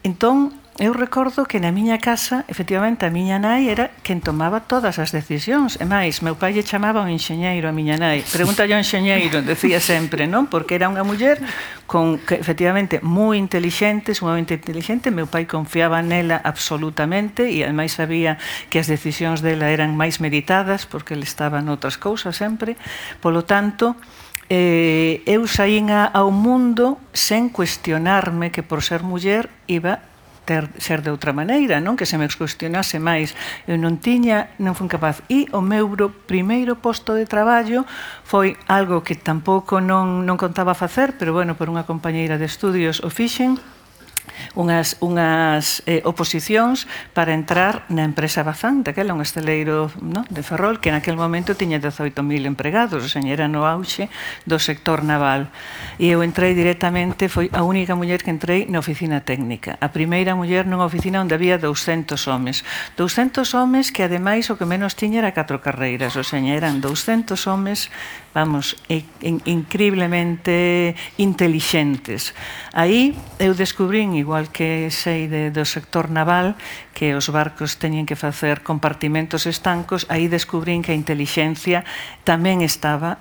Entón, eu recordo que na miña casa, efectivamente, a miña nai era quen tomaba todas as decisións. E máis, meu pai lle chamaba un enxeñeiro a miña nai. Pregunta yo enxeñeiro, decía sempre, non? Porque era unha muller con, que, efectivamente, moi inteligente, sumamente inteligente. Meu pai confiaba nela absolutamente e, ademais, sabía que as decisións dela eran máis meditadas porque ele estaba noutras cousas sempre. Polo tanto, eh, eu saín ao mundo sen cuestionarme que por ser muller iba ter, ser de outra maneira, non? Que se me cuestionase máis. Eu non tiña, non fui capaz. E o meu primeiro posto de traballo foi algo que tampouco non, non contaba facer, pero, bueno, por unha compañeira de estudios o fixen, unhas, unhas eh, oposicións para entrar na empresa Bazán, daquela un esteleiro, no, de Ferrol, que naquele momento tiña dezoito mil empregados, o sea, era no auxe do sector naval. E eu entrei directamente, foi a única muller que entrei na oficina técnica. A primeira muller nunha oficina onde había douscentos homes. douscentos homes que, ademais, o que menos tiña era catro carreiras, o sea, eran douscentos homes, vamos, increíblemente intelixentes. Aí eu descubrín, igual que sei de, do sector naval, que os barcos teñen que facer compartimentos estancos, aí descubrín que a intelixencia tamén estaba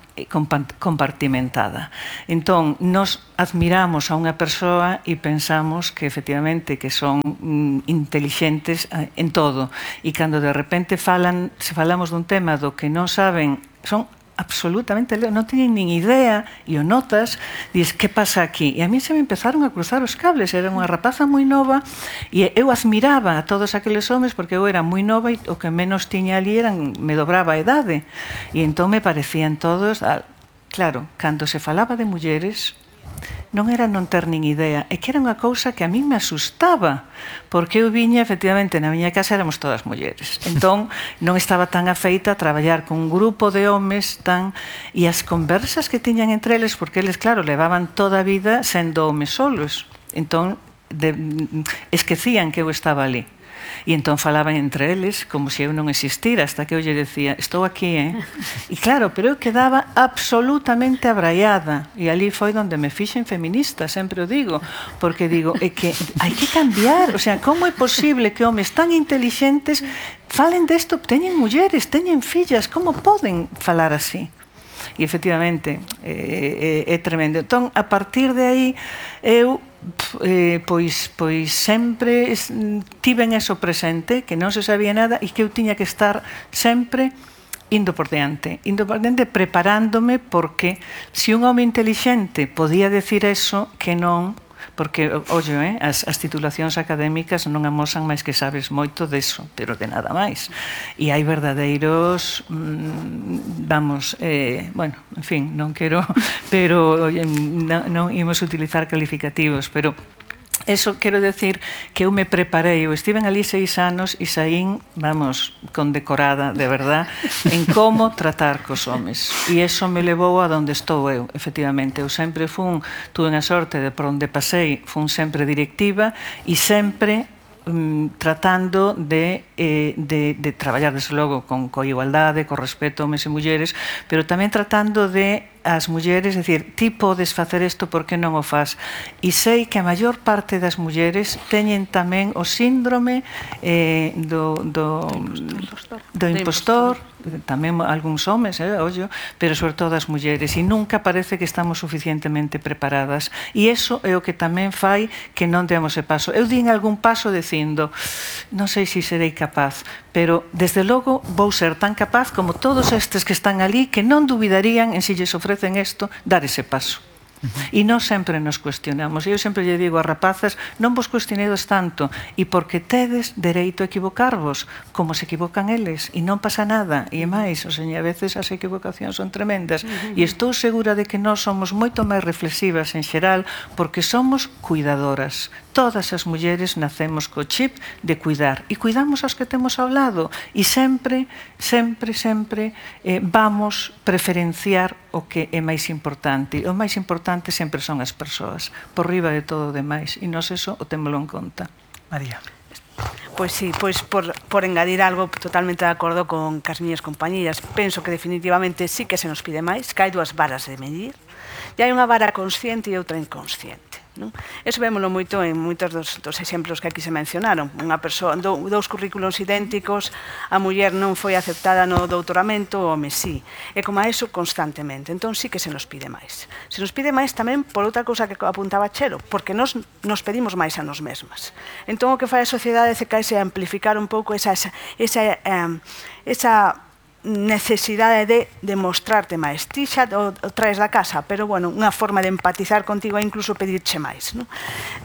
compartimentada. Entón, nos admiramos a unha persoa e pensamos que efectivamente que son mm, intelixentes en todo. E cando de repente falan, se falamos dun tema do que non saben, son absolutamente, non teñen nin idea, e o notas, dices, que pasa aquí? E a mí se me empezaron a cruzar os cables, era unha rapaza moi nova, e eu admiraba a todos aqueles homes, porque eu era moi nova, e o que menos tiña ali eran, me dobraba a idade, e entón me parecían todos, claro, cando se falaba de mulleres, non era non ter nin idea, é que era unha cousa que a mí me asustaba, porque eu viña, efectivamente, na miña casa éramos todas mulleres, entón non estaba tan afeita a traballar con un grupo de homes tan... e as conversas que tiñan entre eles, porque eles, claro, levaban toda a vida sendo homes solos, entón de... esquecían que eu estaba ali. E entón falaban entre eles como se eu non existira, hasta que eu lle decía, estou aquí, eh? E claro, pero eu quedaba absolutamente abraiada, e ali foi onde me fixen feminista, sempre o digo, porque digo, é que hai que cambiar, o sea, como é posible que homes tan intelixentes falen desto, teñen mulleres, teñen fillas, como poden falar así? E efectivamente é, é, é tremendo. Entón, a partir de aí, eu Eh, pois, pois sempre tiven eso presente, que non se sabía nada e que eu tiña que estar sempre indo por diante, indo por diante preparándome, porque se un home intelixente podía decir eso, que non, porque, ollo, eh, as, as titulacións académicas non amosan máis que sabes moito deso, pero de nada máis. E hai verdadeiros, mmm, vamos, eh, bueno, en fin, non quero, pero non, non imos utilizar calificativos, pero eso quero decir que eu me preparei, eu estiven ali seis anos e saín, vamos, condecorada, de verdad, en como tratar cos homes. E eso me levou a donde estou eu, efectivamente. Eu sempre fun, tuve a sorte de por onde pasei, fun sempre directiva e sempre um, tratando de, eh, de, de traballar, desde logo, con, con igualdade, con respeto a homes e mulleres, pero tamén tratando de as mulleres, é dicir, ti podes facer isto, por que non o faz? E sei que a maior parte das mulleres teñen tamén o síndrome eh, do, do, do impostor, tamén algúns homes, eh, ollo, pero sobre todo as mulleres, e nunca parece que estamos suficientemente preparadas, e iso é o que tamén fai que non demos ese paso. Eu din algún paso dicindo, non sei se serei capaz, pero desde logo vou ser tan capaz como todos estes que están ali, que non dubidarían en se lles ofrecen isto, dar ese paso. E non sempre nos cuestionamos. Eu sempre lle digo a rapazas, non vos cuestionedes tanto, e porque tedes dereito a equivocarvos, como se equivocan eles, e non pasa nada. E máis, o sea, a veces as equivocacións son tremendas, e estou segura de que nós somos moito máis reflexivas en xeral, porque somos cuidadoras. Todas as mulleres nacemos co chip de cuidar, e cuidamos aos que temos ao lado, e sempre, sempre, sempre eh, vamos preferenciar o que é máis importante. O máis importante sempre son as persoas, por riba de todo o demais, e nós eso o témolo en conta. María. Pois sí, pois por, por engadir algo totalmente de acordo con as miñas compañías. Penso que definitivamente sí que se nos pide máis, que hai dúas varas de medir, e hai unha vara consciente e outra inconsciente. Non? Eso vémolo moito en moitos dos, dos exemplos que aquí se mencionaron. Unha persoa, do, dous currículos idénticos, a muller non foi aceptada no doutoramento, o home sí. E como a eso constantemente. Entón sí que se nos pide máis. Se nos pide máis tamén por outra cousa que apuntaba Chelo, porque nos, nos pedimos máis a nos mesmas. Entón o que fai a sociedade é caese a amplificar un pouco esa, esa, esa, esa necesidade de demostrarte máis. Ti xa o, o traes da casa, pero, bueno, unha forma de empatizar contigo é incluso pedirche máis, non?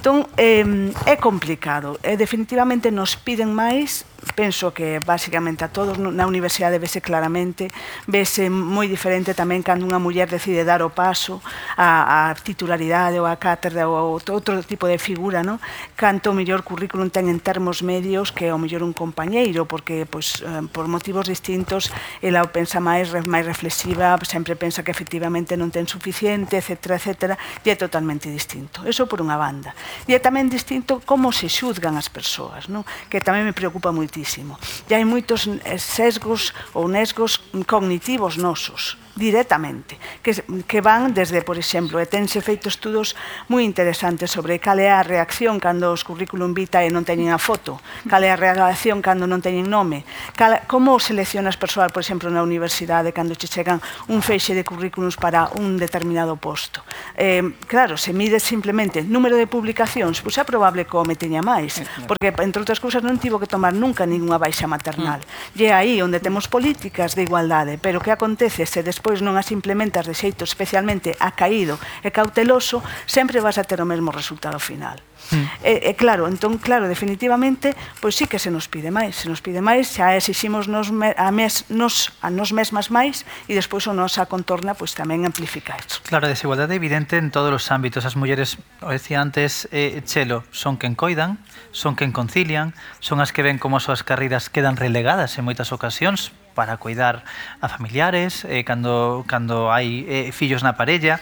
Entón, eh, é complicado. E, definitivamente, nos piden máis. Penso que, basicamente, a todos na universidade vese claramente, vese moi diferente tamén cando unha muller decide dar o paso a, a titularidade ou a cátedra ou outro tipo de figura, non? Canto o mellor currículum ten en termos medios que o mellor un compañeiro, porque, pois, por motivos distintos, ela o pensa máis, máis reflexiva, sempre pensa que efectivamente non ten suficiente, etcétera, etcétera, e é totalmente distinto. Eso por unha banda. E é tamén distinto como se xuzgan as persoas, non? Que tamén me preocupa moitísimo. E hai moitos sesgos ou nesgos cognitivos nosos, directamente, que, que van desde, por exemplo, e tense feito estudos moi interesantes sobre cal é a reacción cando os currículum vitae non teñen a foto, cal é a reacción cando non teñen nome, cal, como seleccionas persoal, por exemplo, na universidade cando che chegan un feixe de currículums para un determinado posto. Eh, claro, se mide simplemente número de publicacións, pois é probable que o home teña máis, porque, entre outras cousas, non tivo que tomar nunca ninguna baixa maternal. E é aí onde temos políticas de igualdade, pero que acontece se despois pois non as implementas de xeito especialmente acaído e cauteloso, sempre vas a ter o mesmo resultado final. Mm. E, e claro, entón, claro, definitivamente, pois sí que se nos pide máis, se nos pide máis, xa exiximos nos, a, mes, nos, a nos mesmas máis e despois o nosa contorna pois tamén amplifica isto. Claro, a desigualdade é evidente en todos os ámbitos. As mulleres, o decía antes, eh, Chelo, son quen coidan, son quen concilian, son as que ven como as súas carreiras quedan relegadas en moitas ocasións para cuidar a familiares, eh, cando, cando hai eh, fillos na parella,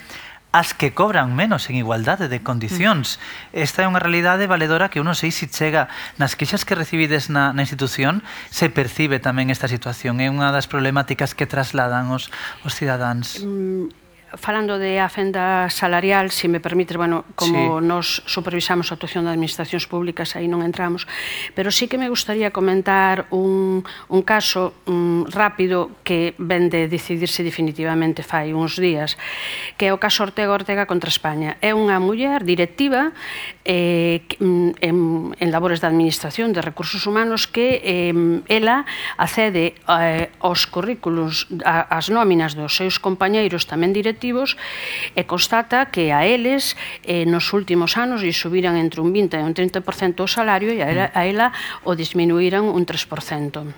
as que cobran menos en igualdade de condicións. Esta é unha realidade valedora que uno sei se chega nas queixas que recibides na, na institución, se percibe tamén esta situación. É unha das problemáticas que trasladan os, os cidadáns. Mm. Falando de a fenda salarial, se me permites, bueno, como sí. Nos supervisamos a actuación de administracións públicas, aí non entramos, pero sí que me gustaría comentar un, un caso um, rápido que ven de decidirse definitivamente fai uns días, que é o caso Ortega Ortega contra España. É unha muller directiva eh, en, en labores de administración de recursos humanos que eh, ela accede eh, aos currículos, a, as nóminas dos seus compañeiros tamén directivos e constata que a eles eh, nos últimos anos lle subiran entre un vinte e un trinta por cento o salario e a ela, a ela o disminuíran un tres por cento.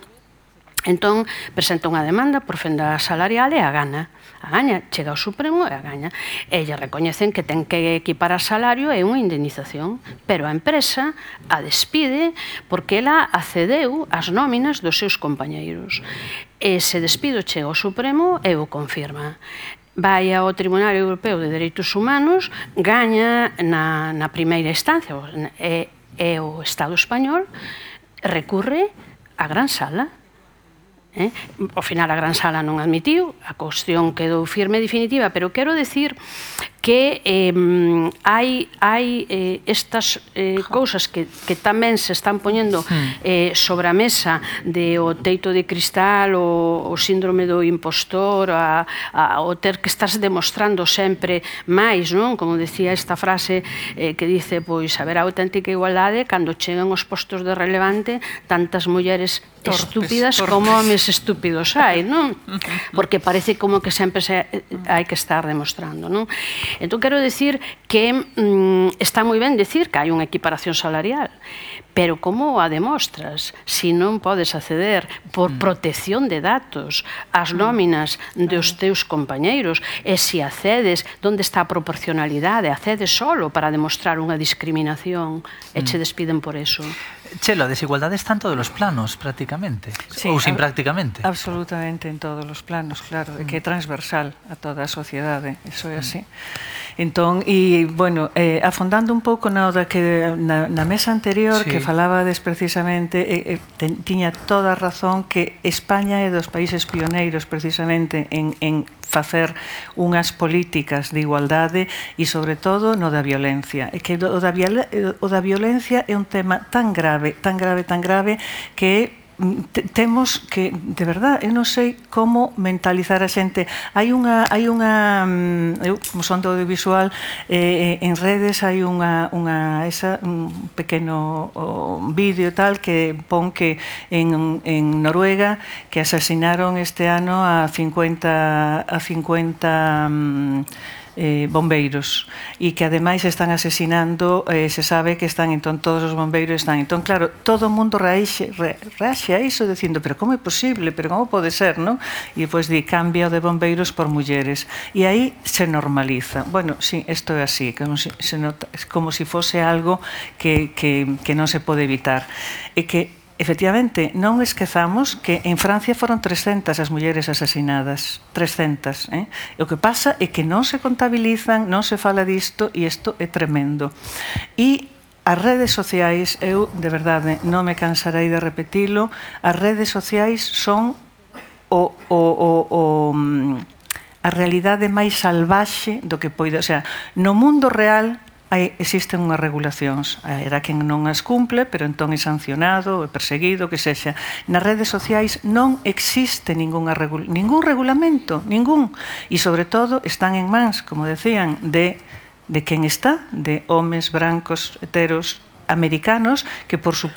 Entón, presenta unha demanda por fenda salarial e a gana. A gaña, chega ao Supremo e a gaña. E lle recoñecen que ten que equiparar salario e unha indemnización, pero a empresa a despide porque ela accedeu ás nóminas dos seus compañeiros. E se despido chega ao Supremo e o confirma. Vai ao Tribunal Europeo de Dereitos Humanos, gaña na, na primeira instancia, e, e o Estado español recurre á Gran Sala. Eh? Ao final a Gran Sala non admitiu, a cuestión quedou firme e definitiva, pero quero decir que eh, hai, hai eh, estas eh, cousas que, que tamén se están poñendo eh, sobre a mesa de o teito de cristal, o, o síndrome do impostor, a, a, o ter que estás demostrando sempre máis, non? Como decía esta frase eh, que dice, pois, haberá auténtica igualdade cando chegan os postos de relevante tantas mulleres torpes, estúpidas torpes. Como homes estúpidos hai, non? Porque parece como que sempre se hai que estar demostrando, non? Entón, quero decir que mm, está moi ben decir que hai unha equiparación salarial, pero como a demostras se non podes acceder por protección de datos ás nóminas dos teus compañeiros e se accedes, onde está a proporcionalidade, accedes solo para demostrar unha discriminación e che despiden por eso. Chelo, a desigualdade está en todos os planos, prácticamente, sí, ou sin prácticamente. Absolutamente en todos os planos, claro, mm. que é transversal a toda a sociedade, iso é así. Entón, e, bueno, eh, afondando un pouco na, que, na, na mesa anterior, sí. Que falabades precisamente, eh, eh, ten, tiña toda a razón que España é dos países pioneiros precisamente en, en facer unhas políticas de igualdade e, sobre todo, no da violencia. E que o da, o da violencia é un tema tan grave, tan grave, tan grave, que temos que, de verdad, eu non sei como mentalizar a xente. Hai unha, hai unha eu, como son do audiovisual, eh, en redes hai unha, unha esa, un pequeno o, vídeo tal que pon que en, en Noruega que asasinaron este ano a cincuenta a cincuenta um, Eh, bombeiros e que ademais están asesinando, eh, se sabe que están, entón todos os bombeiros están, entón claro, todo o mundo reaxe, re, reaxe a iso dicindo, pero como é posible, pero como pode ser, non? E depois di, cambia o de bombeiros por mulleres e aí se normaliza. Bueno, sí, isto é así, como si, se nota, como si fose algo que, que, que non se pode evitar e que efectivamente, non esquezamos que en Francia foron trescentas as mulleres asasinadas, trescentas, eh? E o que pasa é que non se contabilizan, non se fala disto e isto é tremendo. E as redes sociais, eu de verdade non me cansarei de repetilo, as redes sociais son o, o, o, o, a realidade máis salvaxe do que poida, o sea, no mundo real Hai, existen unhas regulacións, era quen non as cumple, pero entón é sancionado, é perseguido, que sexa. Nas redes sociais non existe ningún, regul ningún regulamento, ningún, e sobre todo están en mans, como decían, de, de quen está, de homes brancos, heteros, americanos, que por suposto